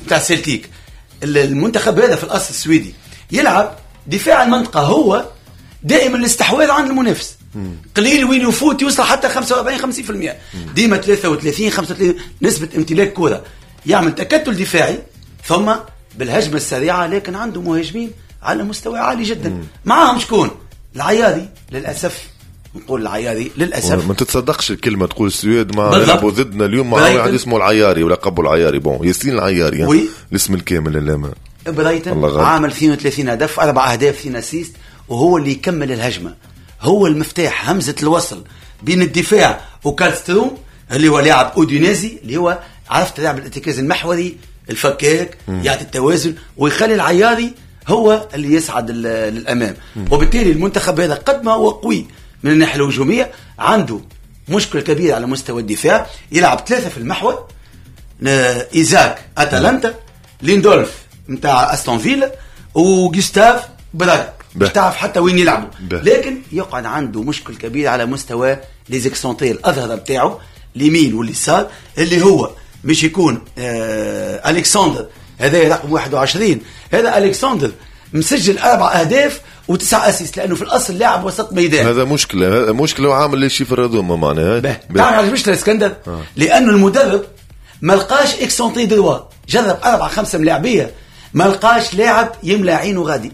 تاع سيلتيك، المنتخب هذا في الاصل السويدي يلعب دفاع المنطقة، هو دائما الاستحواذ عند المنافس، قليل وين يفوت يوصل حتى 45 50%، ديما 33 35 نسبه امتلاك كره، يعمل تكتل دفاعي ثم بالهجمة السريعة، لكن عنده مهاجمين على مستوى عالي جدا. معاهم شكون؟ العياري للأسف، نقول العياري للأسف. ما تتصدقش الكلمة تقول السويد ما يلعبوا ضدنا اليوم مع واحد اسمه العياري ولقبه العياري، bon ياسين العياري يعني. الاسم الكامل اللي ما برايتن عامل 32 هدف، 4 أهداف 2 assists، وهو اللي يكمل الهجمة، هو المفتاح، همزة الوصل بين الدفاع وكالستروم اللي هو لاعب أودينيزي، اللي هو عرفت لاعب الارتكاز المحوري الفكاك، يعطي التوازن ويخلي العياري هو اللي يصعد للأمام. وبالتالي المنتخب هذا قد ما هو قوي من الناحية الهجومية، عنده مشكلة كبيرة على مستوى الدفاع. يلعب 3 في المحور، إيزاك أتلانتا، ليندولف متاع أستون فيلا، وغوستاف براغ، مش تعرف حتى وين يلعبوا. لكن يقعد عنده مشكل كبير على مستوى les excentrés، الأظهرة بتاعه اليمين واليسار، اللي هو مش يكون ألكسندر هذا رقم 21، هذا ألكسندر مسجل 4 أهداف و9 assists، لأنه في الأصل لاعب وسط ميدان. هذا مشكلة، مشكلة وعامل les chiffres هذوما معناها. تعرف علاش مشكلة اسكندر؟ لأنه المدرب ما لقاش excentré droit، جرب 4-5 ملاعبية ما لقاش لاعب يملى عينه غادي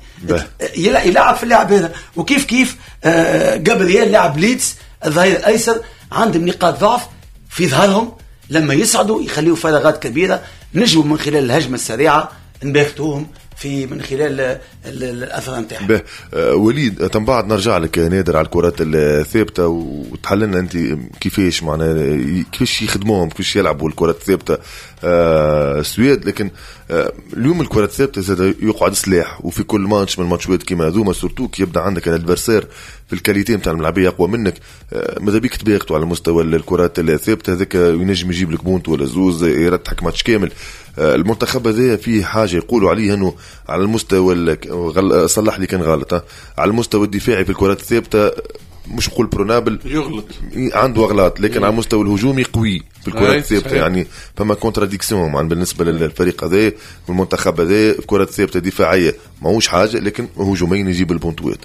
يلعب في اللاعب هذا. وكيف كيف جابرييل لاعب ليدز الظهير الأيسر، عندهم نقاط ضعف في ظهرهم، لما يصعدوا يخليوا فراغات كبيرة، نجموا من خلال الهجمة السريعة نباغتوهم في من خلال الاثر نتاعها. وليد تم بعد نرجع لك نادر على الكرات الثابتة وتحللنا انت كيفاش معناها كيفاش يخدموهم، كيفاش يلعبوا الكرات الثابتة السويد. لكن اليوم الكرات الثابتة زاد يقعد سلاح، وفي كل ماتش من الماتشات كيما هذوما surtout كي يبدا عندك ال adversaire في ال qualité نتاع الملعبيه اقوى منك، ماذا بيك تباغتوا على مستوى الكرات الثابتة، هذاك ينجم يجيب لك بونت ولا زوز يرتحك ماتش كامل. المنتخب هذا فيه حاجة يقولوا عليه انه على المستوى صلح لي كان غلط، على المستوى الدفاعي في الكرات الثابتة مش نقول prenable يغلط، عنده اغلاط، لكن على المستوى الهجومي قوي في الكرات الثابتة. يعني فما contradiction بالنسبة للفريق هذا والمنتخب هذا، الكرات الثابتة دفاعية ماهوش حاجة، لكن هجوميا يجيب البونتوات.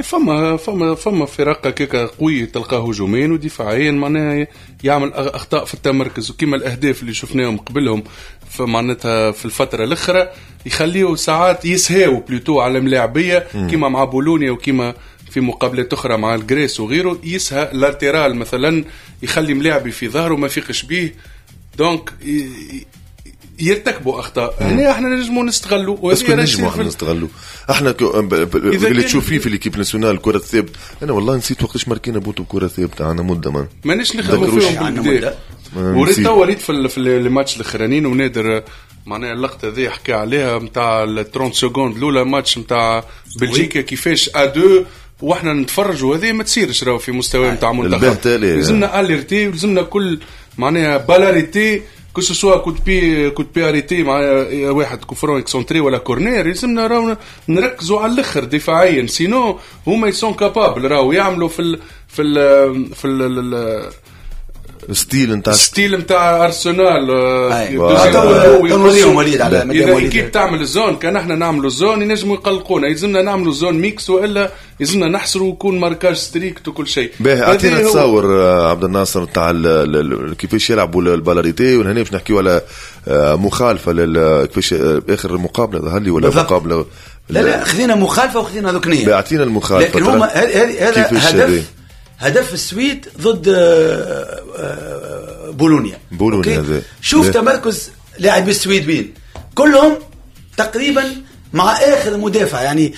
فما فما فما فرق هكاك قوي تلقاه هجوميا ودفاعيا معناها يعمل اخطاء في التمركز، وكما الاهداف اللي شفناهم قبلهم فمعناتها في الفترة الاخرى يخليه ساعات يسهاو plutôt على ملاعبيه كما مع بولونيا وكما في مقابلات اخرى مع ال Grèce وغيره، يسهى latéral مثلا يخلي ملاعبي في ظهره ما فيقش بيه، donc يرتكبوا اخطاء. هنا احنا نجموا نستغلوا، بس نجموا احنا نستغلوا احنا اللي تشوف فيه في l'équipe nationale الكره الثابتة. انا والله نسيت وقتاش ماركينا بوتو كره ثابتة، عندنا مده مانيش نخدموا فيهم بالكدا. وريت توا ريت في الماتش الاخرانيين، ونادر معناها اللقطة ذي حكى عليها نتاع 30 secondes الاولى ماتش نتاع بلجيكا كيفاش à deux واحنا نتفرجوا، هذه ما تصيرش راهو في مستوى نتاع منتخب. لازمنا alerter ولازمنا كل معناها balle arrêtée، que ce soit coup de pied arrêté مع واحد coup franc excentré ولا corner، لازمنا راهو نركزوا على الاخر دفاعيا، sinon هما ils sont capables راهو يعملوا في ال في ال في ال ال style نتاع ال style نتاع ارسنال. اذا équipe تعمل ال zone، كان احنا نعملوا ال zone ينجموا يقلقونا، يلزمنا نعملوا zone mixte والا يلزمنا نحصروا ويكون marquage strict وكل شيء. باهي اعطينا تصور عبد الناصر تاع كيفاش يلعبوا ال balle arrêtée، وهنا باش نحكيو على مخالفة كيفاش اخر مقابله ظهر لي ولا مقابله لا خذينا مخالفة وخذينا ركنيه. اعطينا المخالفة، لكن هما هذا هدف السويد ضد بولونيا. بولونيا شوف تمركز لاعبي السويد وين، كلهم تقريبا مع اخر مدافع، يعني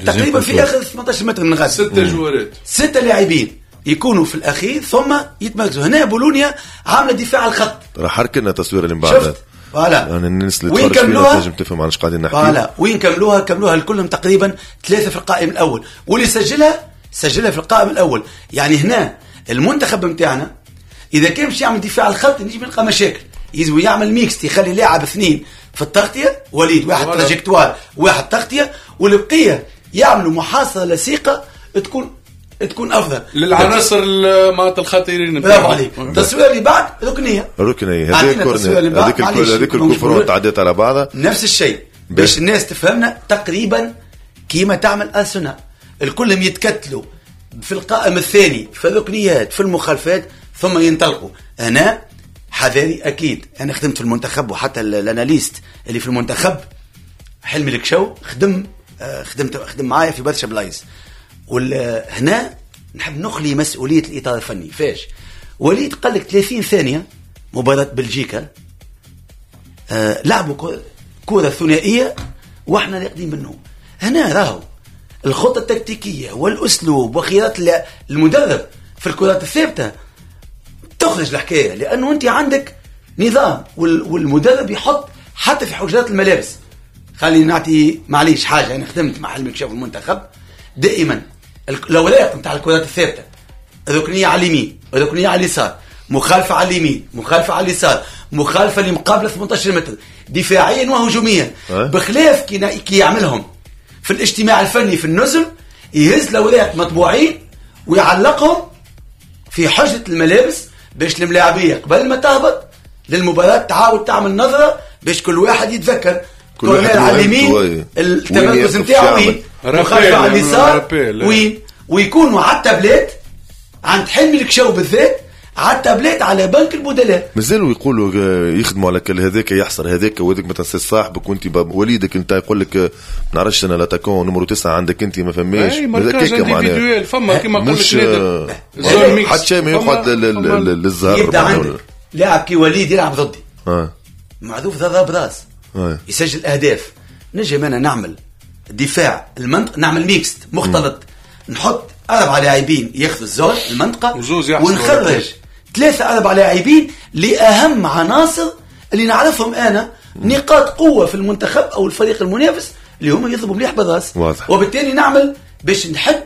تقريبا في اخر 18 متر من غزة، 6 جوارات، 6 لاعبين يكونوا في الاخير ثم يتمركزوا. هنا بولونيا عامله دفاع على الخط، راح حركنا التصوير اللي من بعدها voilà، يعني الناس اللي تفرج فينا تنجم تفهم علاش قاعدين نحكي. voilà وين كملوها الكلهم تقريبا 3 في القائم الاول، واللي سجلها في القائم الاول. يعني هنا المنتخب نتاعنا اذا كان باش يعمل دفاع على الخط نجم يلقى مشاكل، يلزم يعمل mixte، يخلي لاعب 2 في التغطية، وليد واحد trajectoire واحد تغطيه، والبقية يعملوا محاصرة لصيقه تكون افضل للعناصر معناتها الخطيرين. برافو عليك. التصوير اللي بعد ركنيه هذيك corner، هذيك ال coup franc تعديت على بعضها، نفس الشيء باش الناس تفهمنا تقريبا كيما تعمل ارسنال، الكلهم يتكتلوا في القائم الثاني في الركنيات في المخالفات ثم ينطلقوا. انا حذاري اكيد، انا خدمت في المنتخب وحتى ال analyste اللي في المنتخب حلمي الكشو خدم معايا في برشا بلايص، وهنا نحب نخلي مسؤولية الاطار الفني. فاش وليد قال لك 30 ثانية مباراة بلجيكا لعبوا كره ثنائية واحنا راقدين منهم. هنا راهو الخطة التكتيكيه والاسلوب وخيارات المدرب في الكرات الثابتة تخرج الحكاية، لانه انت عندك نظام والمدرب يحط حتى في حجرات الملابس. خليني نعطي معليش حاجة، انا خدمت مع حلمي كشاف المنتخب دائما الاوراق نتاع الكرات الثابتة، ركنيه على اليمين، ركنيه على اليسار، مخالفة على اليمين، مخالفة على اليسار، مخالفة لمقابلة 18 متر دفاعيا وهجوميا. بخلاف كي يعملهم في الاجتماع الفني في النزل، يهز الاوراق مطبوعين ويعلقهم في حجره الملابس باش الملاعبيه قبل ما تهبط للمباراة تعاود تعمل نظره باش كل واحد يتذكر كل واحد على اليمين التمركز نتاعو وين، مخالفة على اليسار وين، ويكونوا على التابلات عند حلمي الكشاو بالذات على التابلات على بنك البدلاء. مازالوا يقولوا يخدموا على كل هذاك يحصر هذاك وهذاك، ما تنساش صاحبك وانت وليدك انت يقول لك ما نعرفش انا l'attaquant numéro 9 عندك انت ما فماش هذاك معناها فما كيما قال لك حتى شيء ما يقعد للزهر. يبدا عندك لاعب كي وليد يلعب ضدي معروف ضرب راس يسجل اهداف، نجم انا نعمل دفاع المنطقة، نعمل mixte مختلط، نحط 4 لاعبين ياخذوا ال zone المنطقة ونخرج 3 4 لاعبين لاهم عناصر اللي نعرفهم انا نقاط قوة في المنتخب او الفريق المنافس اللي هم يضربوا مليح بالراس. وبالتالي نعمل باش نحد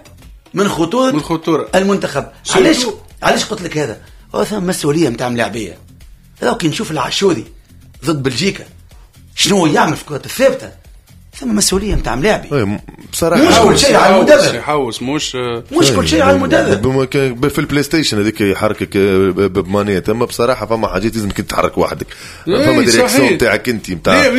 من خطورة المنتخب. علاش قلت لك هذا؟ هو ثم مسؤولية نتاع ملاعبيه. لو كي نشوف العاشوري ضد بلجيكا شنو يعمل في الكرات الثابتة، ثم مسؤولية نتاع ملاعبي بصراحة. مش كل شيء على المدرب، يحوس مش كل شيء على المدرب. في البلاي ستيشن هذيك يحركك ب manette، اما بصراحة فما حاجات لازمك تتحرك وحدك، فما direction نتاعك انت نتاع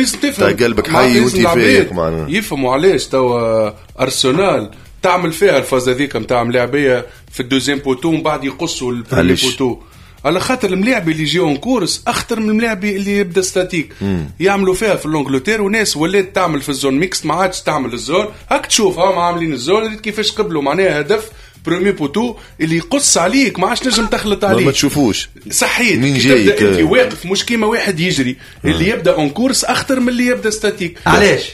قلبك حي وانت فايق معناها. يفهموا علاش توا ارسنال تعمل فيها الفاز هذيك نتاع ملاعبيه في ال deuxième poteau ومن بعد يقصوا ال premier poteau، على خاطر الملاعبي اللي يجي en course اخطر من الملاعبي اللي يبدا statique. يعملوا فيها في l'Angleterre وناس ولات تعمل في ال zone mixte، ما عادش تعمل ال zone. هاك تشوف هم عاملين ال zone كيفاش قبلوا معناها هدف premier poteau اللي يقص عليك ما عادش نجم تخلط عليه، ما تشوفوش صحيت تبدا انت واقف، مش كيما واحد يجري. اللي يبدا en course اخطر من اللي يبدا statique. علاش؟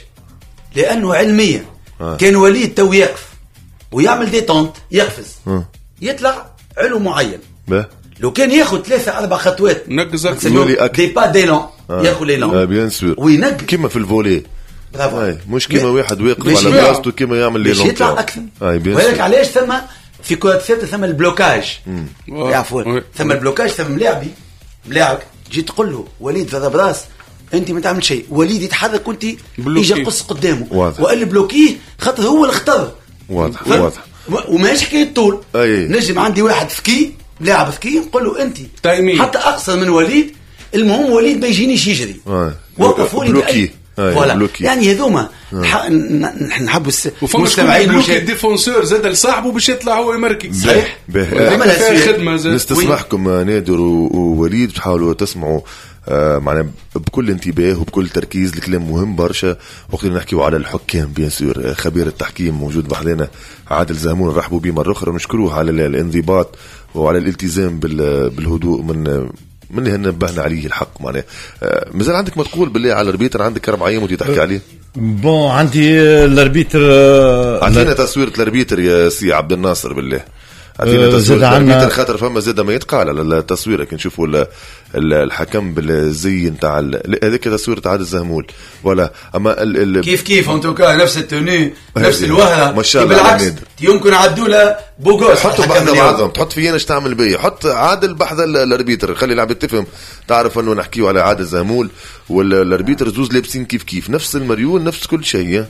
لانه علميا كان وليد تو يقف ويعمل détente يقفز يطلع علو معين. لو كان ياخذ 3 4 خطوات نقزك des pas d'élan، ياخذ l'élan bien sûr وينقز كيما في ال volley. برافو، مش كيما واحد واقف على بلاصتو كيما يعمل l'élan يطلع اكثر. ولكن علاش ثم في كرة ثابتة ثم ال blocage، يعرفوا ثم ال blocage، ثم ملاعبي ملاعب تجي تقول له وليد ضرب راس انت ما تعمل شيء، وليد يتحرك وانت يجي قص قدامه والا bloquer خاطر هو الخطر. واضح واضح، وماهيش حكاية طول. نجم عندي واحد ذكي لاعب ذكي نقول له انت حتى اقصر من وليد، المهم وليد ما يجينيش يجري. وقف وليد bloquer. voilà. يعني هذوما نحبوا المستمعين bloquer ال défenseur زاد لصاحبه باش يطلع هو يمركي. صحيح. نستسمحكم نادر ووليد تحاولوا تسمعوا معنا بكل انتباه وبكل تركيز، الكلام مهم برشا وقت اللي نحكيو على الحكام. bien sûr خبير التحكيم موجود بحذانا عادل زهمول، نرحبوا به مرة اخرى ونشكروه على الانضباط وعلى الالتزام بالهدوء من اللي نبهنا عليه الحق. معناه مازال عندك ما تقول بالله على ال arbitre؟ عندك 4 ايام وانت تحكي عليه. bon عندي ال arbitre، عطينا تصويره ال arbitre يا سي عبد الناصر بالله. عطينا تصويره ال arbitre خاطر فما زاد ما يتقال على التصويره. كي نشوفوا الحكم بالزي نتاع هذيك تصويره عادل زهمول ولا اما كيف en tout cas نفس ال tenue نفس الوهره. ما شاء الله بالعكس يمكن عدوا له beau gosse. حطوا بحذا بعضهم، تحط فينا اش تعمل بيا، حط عادل بحذا ال arbitre، خلي العباد تفهم تعرف انه نحكيو على عادل زهمول وال arbitre زوز لابسين كيف كيف، نفس المريول نفس كل شيء.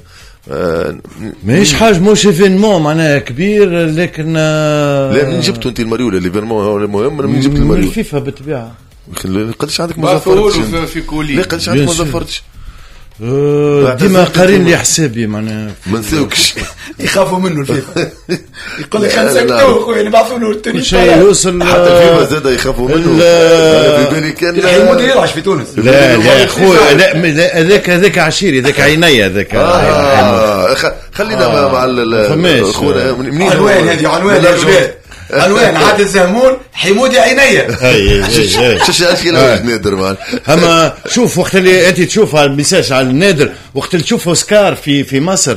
ماهيش حاجة موش événement معناها كبير، لكن لا منين جبتوا انت المريول؟ l'événement هو المهم، منين جبت المريول؟ من الفيفا بالطبيعة. قداش عندك ما زفرتش في colis؟ لا قداش عندك ما زفرتش؟ ديما قارين لي حسابي معناها ما نساوكش. يخافوا منه الفيفا، يقول لك خمسة كتو خويا نبعثوا له ال tenue شيء يوصل. حتى الفيفا زاد يخافوا منه. في بالي كان الحمودي يلعب في تونس. لا لا خويا لا، هذاك عشيري، هذاك عيني، هذاك خلينا مع خونا منين عنوان هذه، عنوان عنوان عادل زهمول حمودي عينيا. شو اشكال نادر مان. اما شوف وقت اللي انت تشوف ال message على النادر، وقت اللي تشوف اوسكار في مصر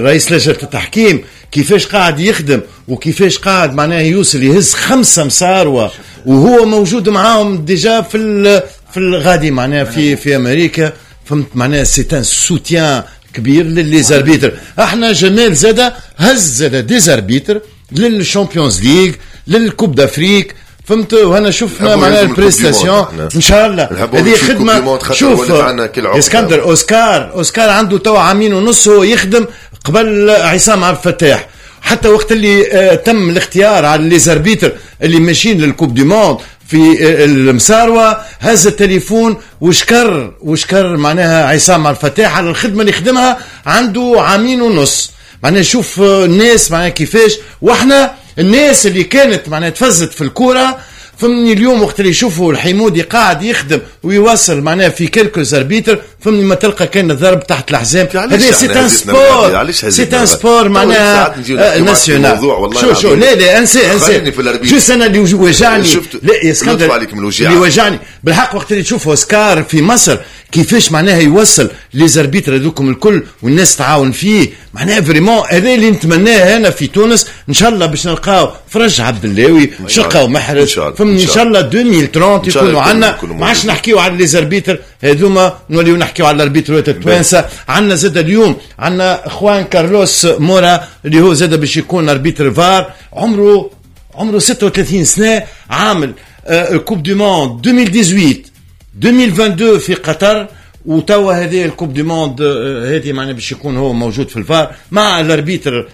رئيس لجنة التحكيم كيفاش قاعد يخدم وكيفاش قاعد معناه يوصل يهز 5 مساروه وهو موجود معاهم déjà في الغادي معناه في امريكا، فهمت معناه c'est un soutien كبير ل les arbitres. احنا جمال زاده هز زاده des arbitres لل Champions League لل Coupe d'Afrique، فهمت؟ وهنا شفنا معناها ال prestation ان شاء الله هذه خدمة. شوف اسكندر اوسكار عنده تو 2.5 عام هو يخدم قبل عصام عبد الفتاح، حتى وقت اللي تم الاختيار على les arbitres اللي ماشيين لل Coupe du monde في المساروة، هز التليفون وشكر معناها عصام عبد الفتاح على الخدمة اللي خدمها عنده 2.5 عام. معناها شوف الناس معناها كيفاش، واحنا الناس اللي كانت معناها تفزت في الكورة، فهمني اليوم وقت اللي يشوفوا الحمودي قاعد يخدم ويواصل معناها في quelques arbitres، فهمني ما تلقى كان الضرب تحت الحزام. هذا c'est un sport، c'est un sport معناها national. شو لا لا انسى juste انا اللي وجعني، لا يا اسكندر اللي وجعني بالحق وقت اللي تشوف اوسكار في مصر كيفاش معناها يوصل les arbitres هذوكم الكل والناس تعاون فيه. معناها vraiment هذا اللي نتمناه انا في تونس، ان شاء الله باش نلقاو فرج عبد اللاوي، باش نلقاو محرز، فهمني، ان شاء الله 2030 يكونوا عندنا، ما عادش نحكيو على les arbitres هذوما، نوليو نحكيو على ال arbitre ات التوانسة. عندنا زاد اليوم عندنا خوان كارلوس مورا اللي هو زاد باش يكون arbitre VAR، عمره 36 سنة، عامل Coupe du monde 2018 2022 في قطر، وتوا هذه ال Coupe du monde هذه معناها باش يكون هو موجود في الفار مع ال arbitre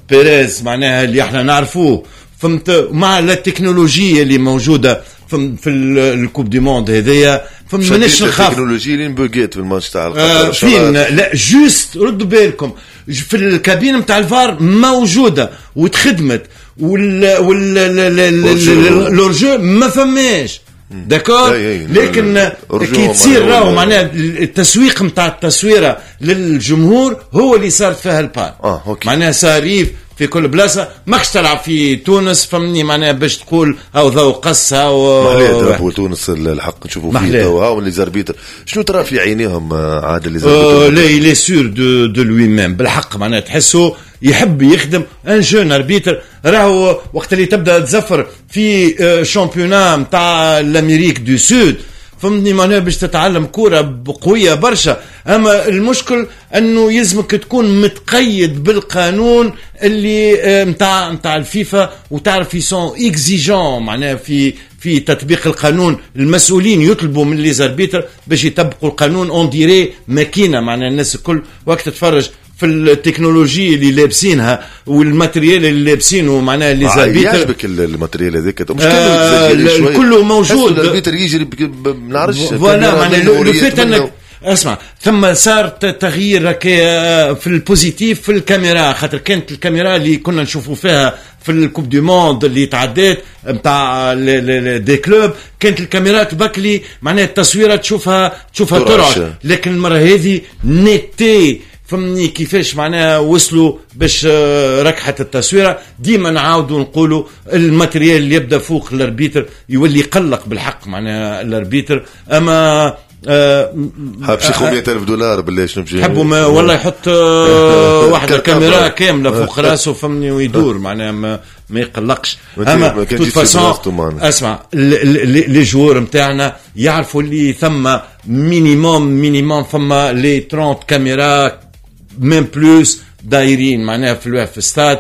بيريز معناها اللي احنا نعرفوه، فهمت، مع التكنولوجيا اللي موجودة في ال Coupe du monde هذيا، فما ماناش نخاف. التكنولوجيا اللي بوغيت في الماتش تاع القطر فين لا juste ردوا بالكم في الكابين نتاع الفار موجودة وتخدمت، وال l'hors-jeu ما فماش d'accord، لكن كي تصير راهو معناها التسويق نتاع التصويره للجمهور هو اللي صارت فيها ال panne. معناها صاريف في كل بلاصة، ماكش تلعب في تونس فهمني معناها باش تقول او ذو قص او محلاه drapeau تونس الحق نشوفوا فيه توا هاو les arbitres، شنو ترى في عينيهم عادل les arbitres؟ لا il est sûr de lui-même بالحق، معناها تحسه يحب يخدم un jeune arbitre. راهو وقت اللي تبدا تزفر في championnat نتاع l'Amérique du Sud فهمتني معناها باش تتعلم كورة قوية برشا. اما المشكل انه يلزمك تكون متقيد بالقانون اللي نتاع الفيفا، وتعرف ils sont exigeants معناها في تطبيق القانون. المسؤولين يطلبوا من les arbitres باش يطبقوا القانون on dirait ماكينة، معناها الناس الكل وقت تتفرج في التكنولوجيا اللي لابسينها وال matériel اللي لابسينه معناها les arbitres. يعجبك ال matériel هذاك؟ مش كله موجود، ال arbitre يجري ما نعرفش voilà معناها le fait انك اسمع ثم صار تغيير في ال positif في الكاميرا، خاطر كانت الكاميرا اللي كنا نشوفوا فيها في ال Coupe du monde اللي تعدات نتاع des clubs، كانت الكاميرا تبكلي معناها التصويره تشوفها ترعش، لكن المرة هذه netteté فهمني كيفاش معناها وصلوا باش ركحت التصويره. ديما نعاودوا نقولوا ال matériel اللي يبدا فوق ال arbitre يولي يقلق بالحق معناها ال arbitre. اما حاب شي $100,000 بالله شنو بشي حبوا ما والله يحط واحدة كاميرا كاملة فوق راسه فهمني ويدور معناها ما يقلقش. اما toute façon اسمع les joueurs نتاعنا يعرفوا اللي ثم minimum فما les 30 caméras même plus دايرين معناها في الواحد في الستاد.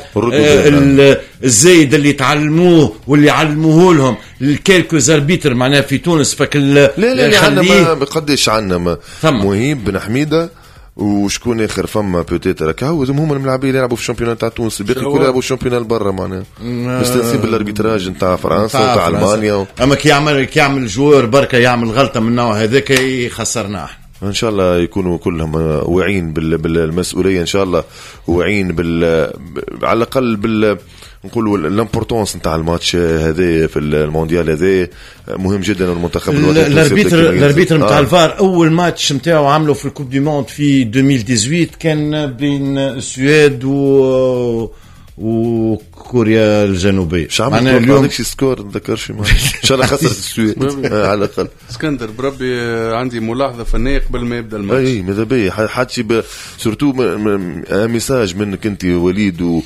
الزايد اللي تعلموه واللي علموه لهم ال quelques arbitres معناها في تونس فك لا لا عندنا قداش عندنا مهيب بن حميده وشكون اخر فما peut-être هكا هما الملاعبين اللي يلعبوا في ال championnat تاع تونس، الباقي الكل يلعبوا في ال championnat برا معناها مستانسين بال arbitrage نتاع فرنسا وتاع المانيا اما كي يعمل joueur بركة يعمل غلطه من النوع هذاك يخسرنا احنا. ان شاء الله يكونوا كلهم واعيين بالمسؤولية، ان شاء الله واعيين على الاقل نقولوا l'importance نتاع الماتش هذا في المونديال هذا مهم جدا. المنتخب الوطني ال arbitre نتاع الفار اول ماتش نتاعو عمله في ال Coupe du monde في 2018 كان بين السويد وكوريا الجنوبية. معناها اليوم عندك شي score نتذكرش ان شاء الله خسرت السويد على الاقل. اسكندر بربي عندي ملاحظة فنية قبل ما يبدا الماتش. اي ماذا بيا حتى surtout message منك انت وليد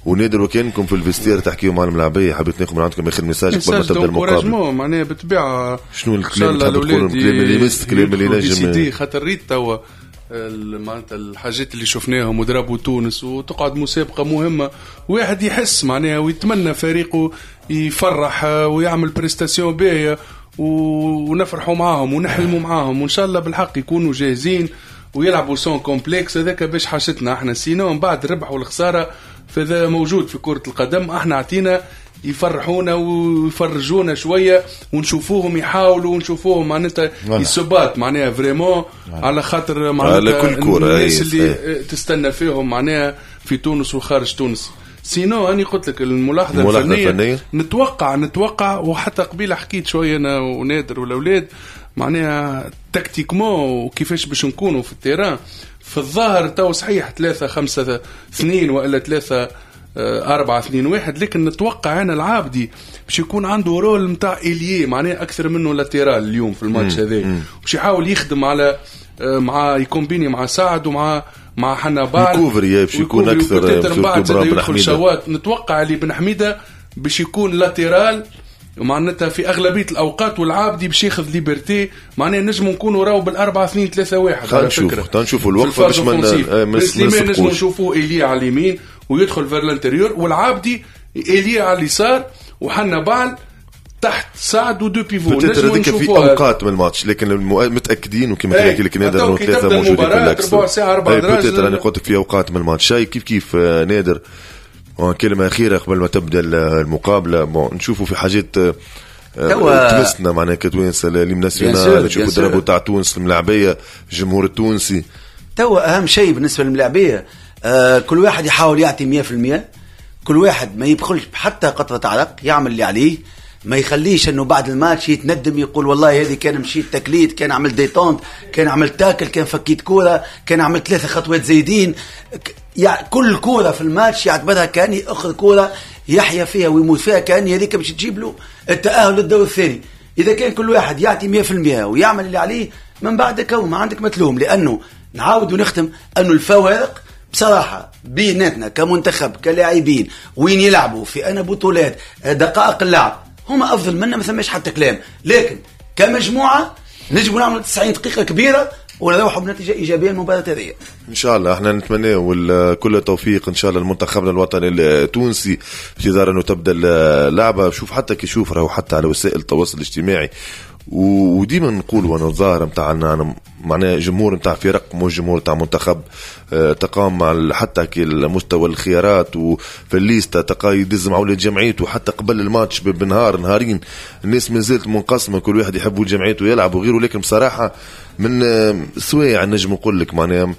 ونادر وكانكم في ال vestiaire تحكيوا مع الملاعبيه، حبيت ناخذ من عندكم اخر message قبل ما تبدا المقابلة. معناها بالطبيعة شنو الكلام اللي تحب تقوله، الكلام اللي يمس، الكلام اللي نجم خاطر ريت توا معناتها الحاجات اللي شفناهم وضربوا تونس وتقعد مسابقة مهمة، واحد يحس معناها ويتمنى فريقه يفرح ويعمل prestation باهيه ونفرحوا معاهم ونحلموا معاهم، وان شاء الله بالحق يكونوا جاهزين ويلعبوا sans complexe. هذاك باش حاجتنا احنا، sinon من بعد الربح والخسارة فذا موجود في كرة القدم. احنا عطينا يفرحونا ويفرجونا شوية ونشوفوهم يحاولوا ونشوفوهم معناتها يسبات معناها vraiment على خاطر معناتها الناس اللي تستنى فيهم معناها في تونس وخارج تونس. sinon أنا قلت لك الملاحظة الفنية نتوقع وحتى قبيلة حكيت شوية أنا ونادر والأولاد معناها tactiquement وكيفاش باش نكونوا في ال terrain. في الظاهر تو صحيح 3-5-2 وإلا 4-2-1، لكن نتوقع انا العابدي باش يكون عنده rôle نتاع ailier، معناه اكثر منه latéral اليوم في الماتش هذا، باش يحاول يخدم على مع ي combiner مع سعد ومع حنبعل، ي couvrir باش يكون اكثر، من بعد يدخل شوات. نتوقع اللي بن حميده باش يكون latéral معناتها في اغلبية الاوقات، والعابدي باش ياخذ liberté، معناها نجموا نكونوا راهو بال4-2-3-1. على فكرة نشوفوا الوقفة باش ما سليمان نجموا نشوفوه ailier على اليمين ويدخل vers l'intérieur، والعابدي ailier على اليسار، وحنبعل تحت سعد و deux pivots. نجموا في اوقات من الماتش، لكن متاكدين وكما كان لك نادر انه ثلاثة موجودين في l'axe، ربع ساعة اربع دراج. انا قلت لك في اوقات من الماتش. شيء كيف كيف نادر، كلمة أخيرة قبل ما تبدأ المقابلة. bon نشوفوا في حاجات تمسنا معناها كتوانسة l'hymne national، نشوفوا ال drapeau تاع تونس، الملاعبية، الجمهور التونسي. توا أهم شيء بالنسبة للملاعبية كل واحد يحاول يعطي 100%، كل واحد ما يبخلش حتى قطرة عرق، يعمل اللي عليه، ما يخليش انه بعد الماتش يتندم يقول والله هذه كان مشيت تكليت، كان عملت détente، كان عملت tacle، كان فكيت كورة، كان عملت 3 خطوات زايدين. يعني كل كورة في الماتش يعتبرها كان اخر كورة يحيا فيها ويموت فيها، كان هذيك باش تجيب له التاهل للدور الثاني. اذا كان كل واحد يعطي 100% ويعمل اللي عليه، من بعد كو ما عندك متلوم. لانه نعاود ونختم انه الفوارق بصراحة بيناتنا كمنتخب كلاعبين وين يلعبوا في انا بطولات دقائق اللعب هما افضل منا، ما ثماش حتى كلام، لكن كمجموعة نجموا نعملوا 90 دقيقة كبيرة ونروحوا بنتيجة ايجابية المباراة هذه ان شاء الله. احنا نتمنى كل التوفيق ان شاء الله لمنتخبنا الوطني التونسي في انتظار انه تبدا اللعبة. شوف حتى كي شوف راهو حتى على وسائل التواصل الاجتماعي، وديما نقولوا انا الظاهر نتاع معناها جمهور نتاع فرق مش جمهور نتاع منتخب، تقام مع حتى كي مستوى الخيارات وفي الليستا تقا يدز مع ولاد جمعيته حتى قبل الماتش بنهار نهارين، الناس ما زالت منقسمة، كل واحد يحب ولد جمعيته يلعب وغيره. لكن بصراحة من سوايع نجم نقول لك معناها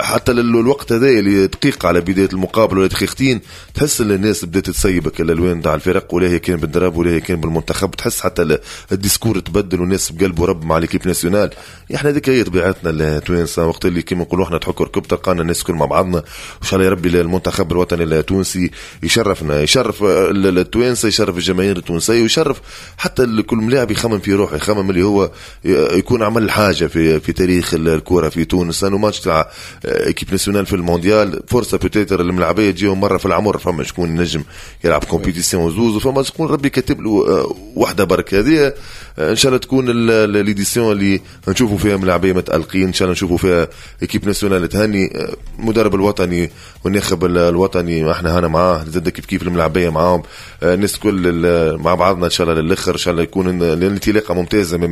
حتى الوقت هذا اللي دقيقة على بداية المقابلة ولا دقيقتين، تحس ان الناس بدات تسيبك الالوان تاع الفرق، ولا هي كان بال drapeau ولا هي كان بالمنتخب، تحس حتى ال discours تبدل والناس بقلب ورب مع l'équipe nationale. احنا هذيك هي طبيعتنا التوانسة، وقت اللي كيما نقولوا احنا تحك ركب تلقانا الناس كل مع بعضنا. وان شاء الله يا ربي المنتخب الوطني التونسي يشرفنا، يشرف التوانسة، يشرف الجماهير التونسية، ويشرف حتى كل ملاعب يخمم في روحه، يخمم اللي هو يكون عمل حاجة في تاريخ الكره في تونس. انه ماتش تاع équipe nationale في المونديال فرصة peut-être الملعبيه تجيهم مرة في العمر، فما شكون نجم يلعب compétition زوز، وفما شكون ربي كاتب له واحدة برك. هذه ان شاء الله تكون l'édition اللي نشوفوا فيها ملاعبيه متالقين، ان شاء الله نشوفوا فيها équipe nationale تهني المدرب الوطني والناخب الوطني، احنا هنا معاه زاد كيف كيف الملاعبيه معاهم، الناس كل مع بعضنا ان شاء الله للاخر. ان شاء الله يكون الانطلاقة ممتازة من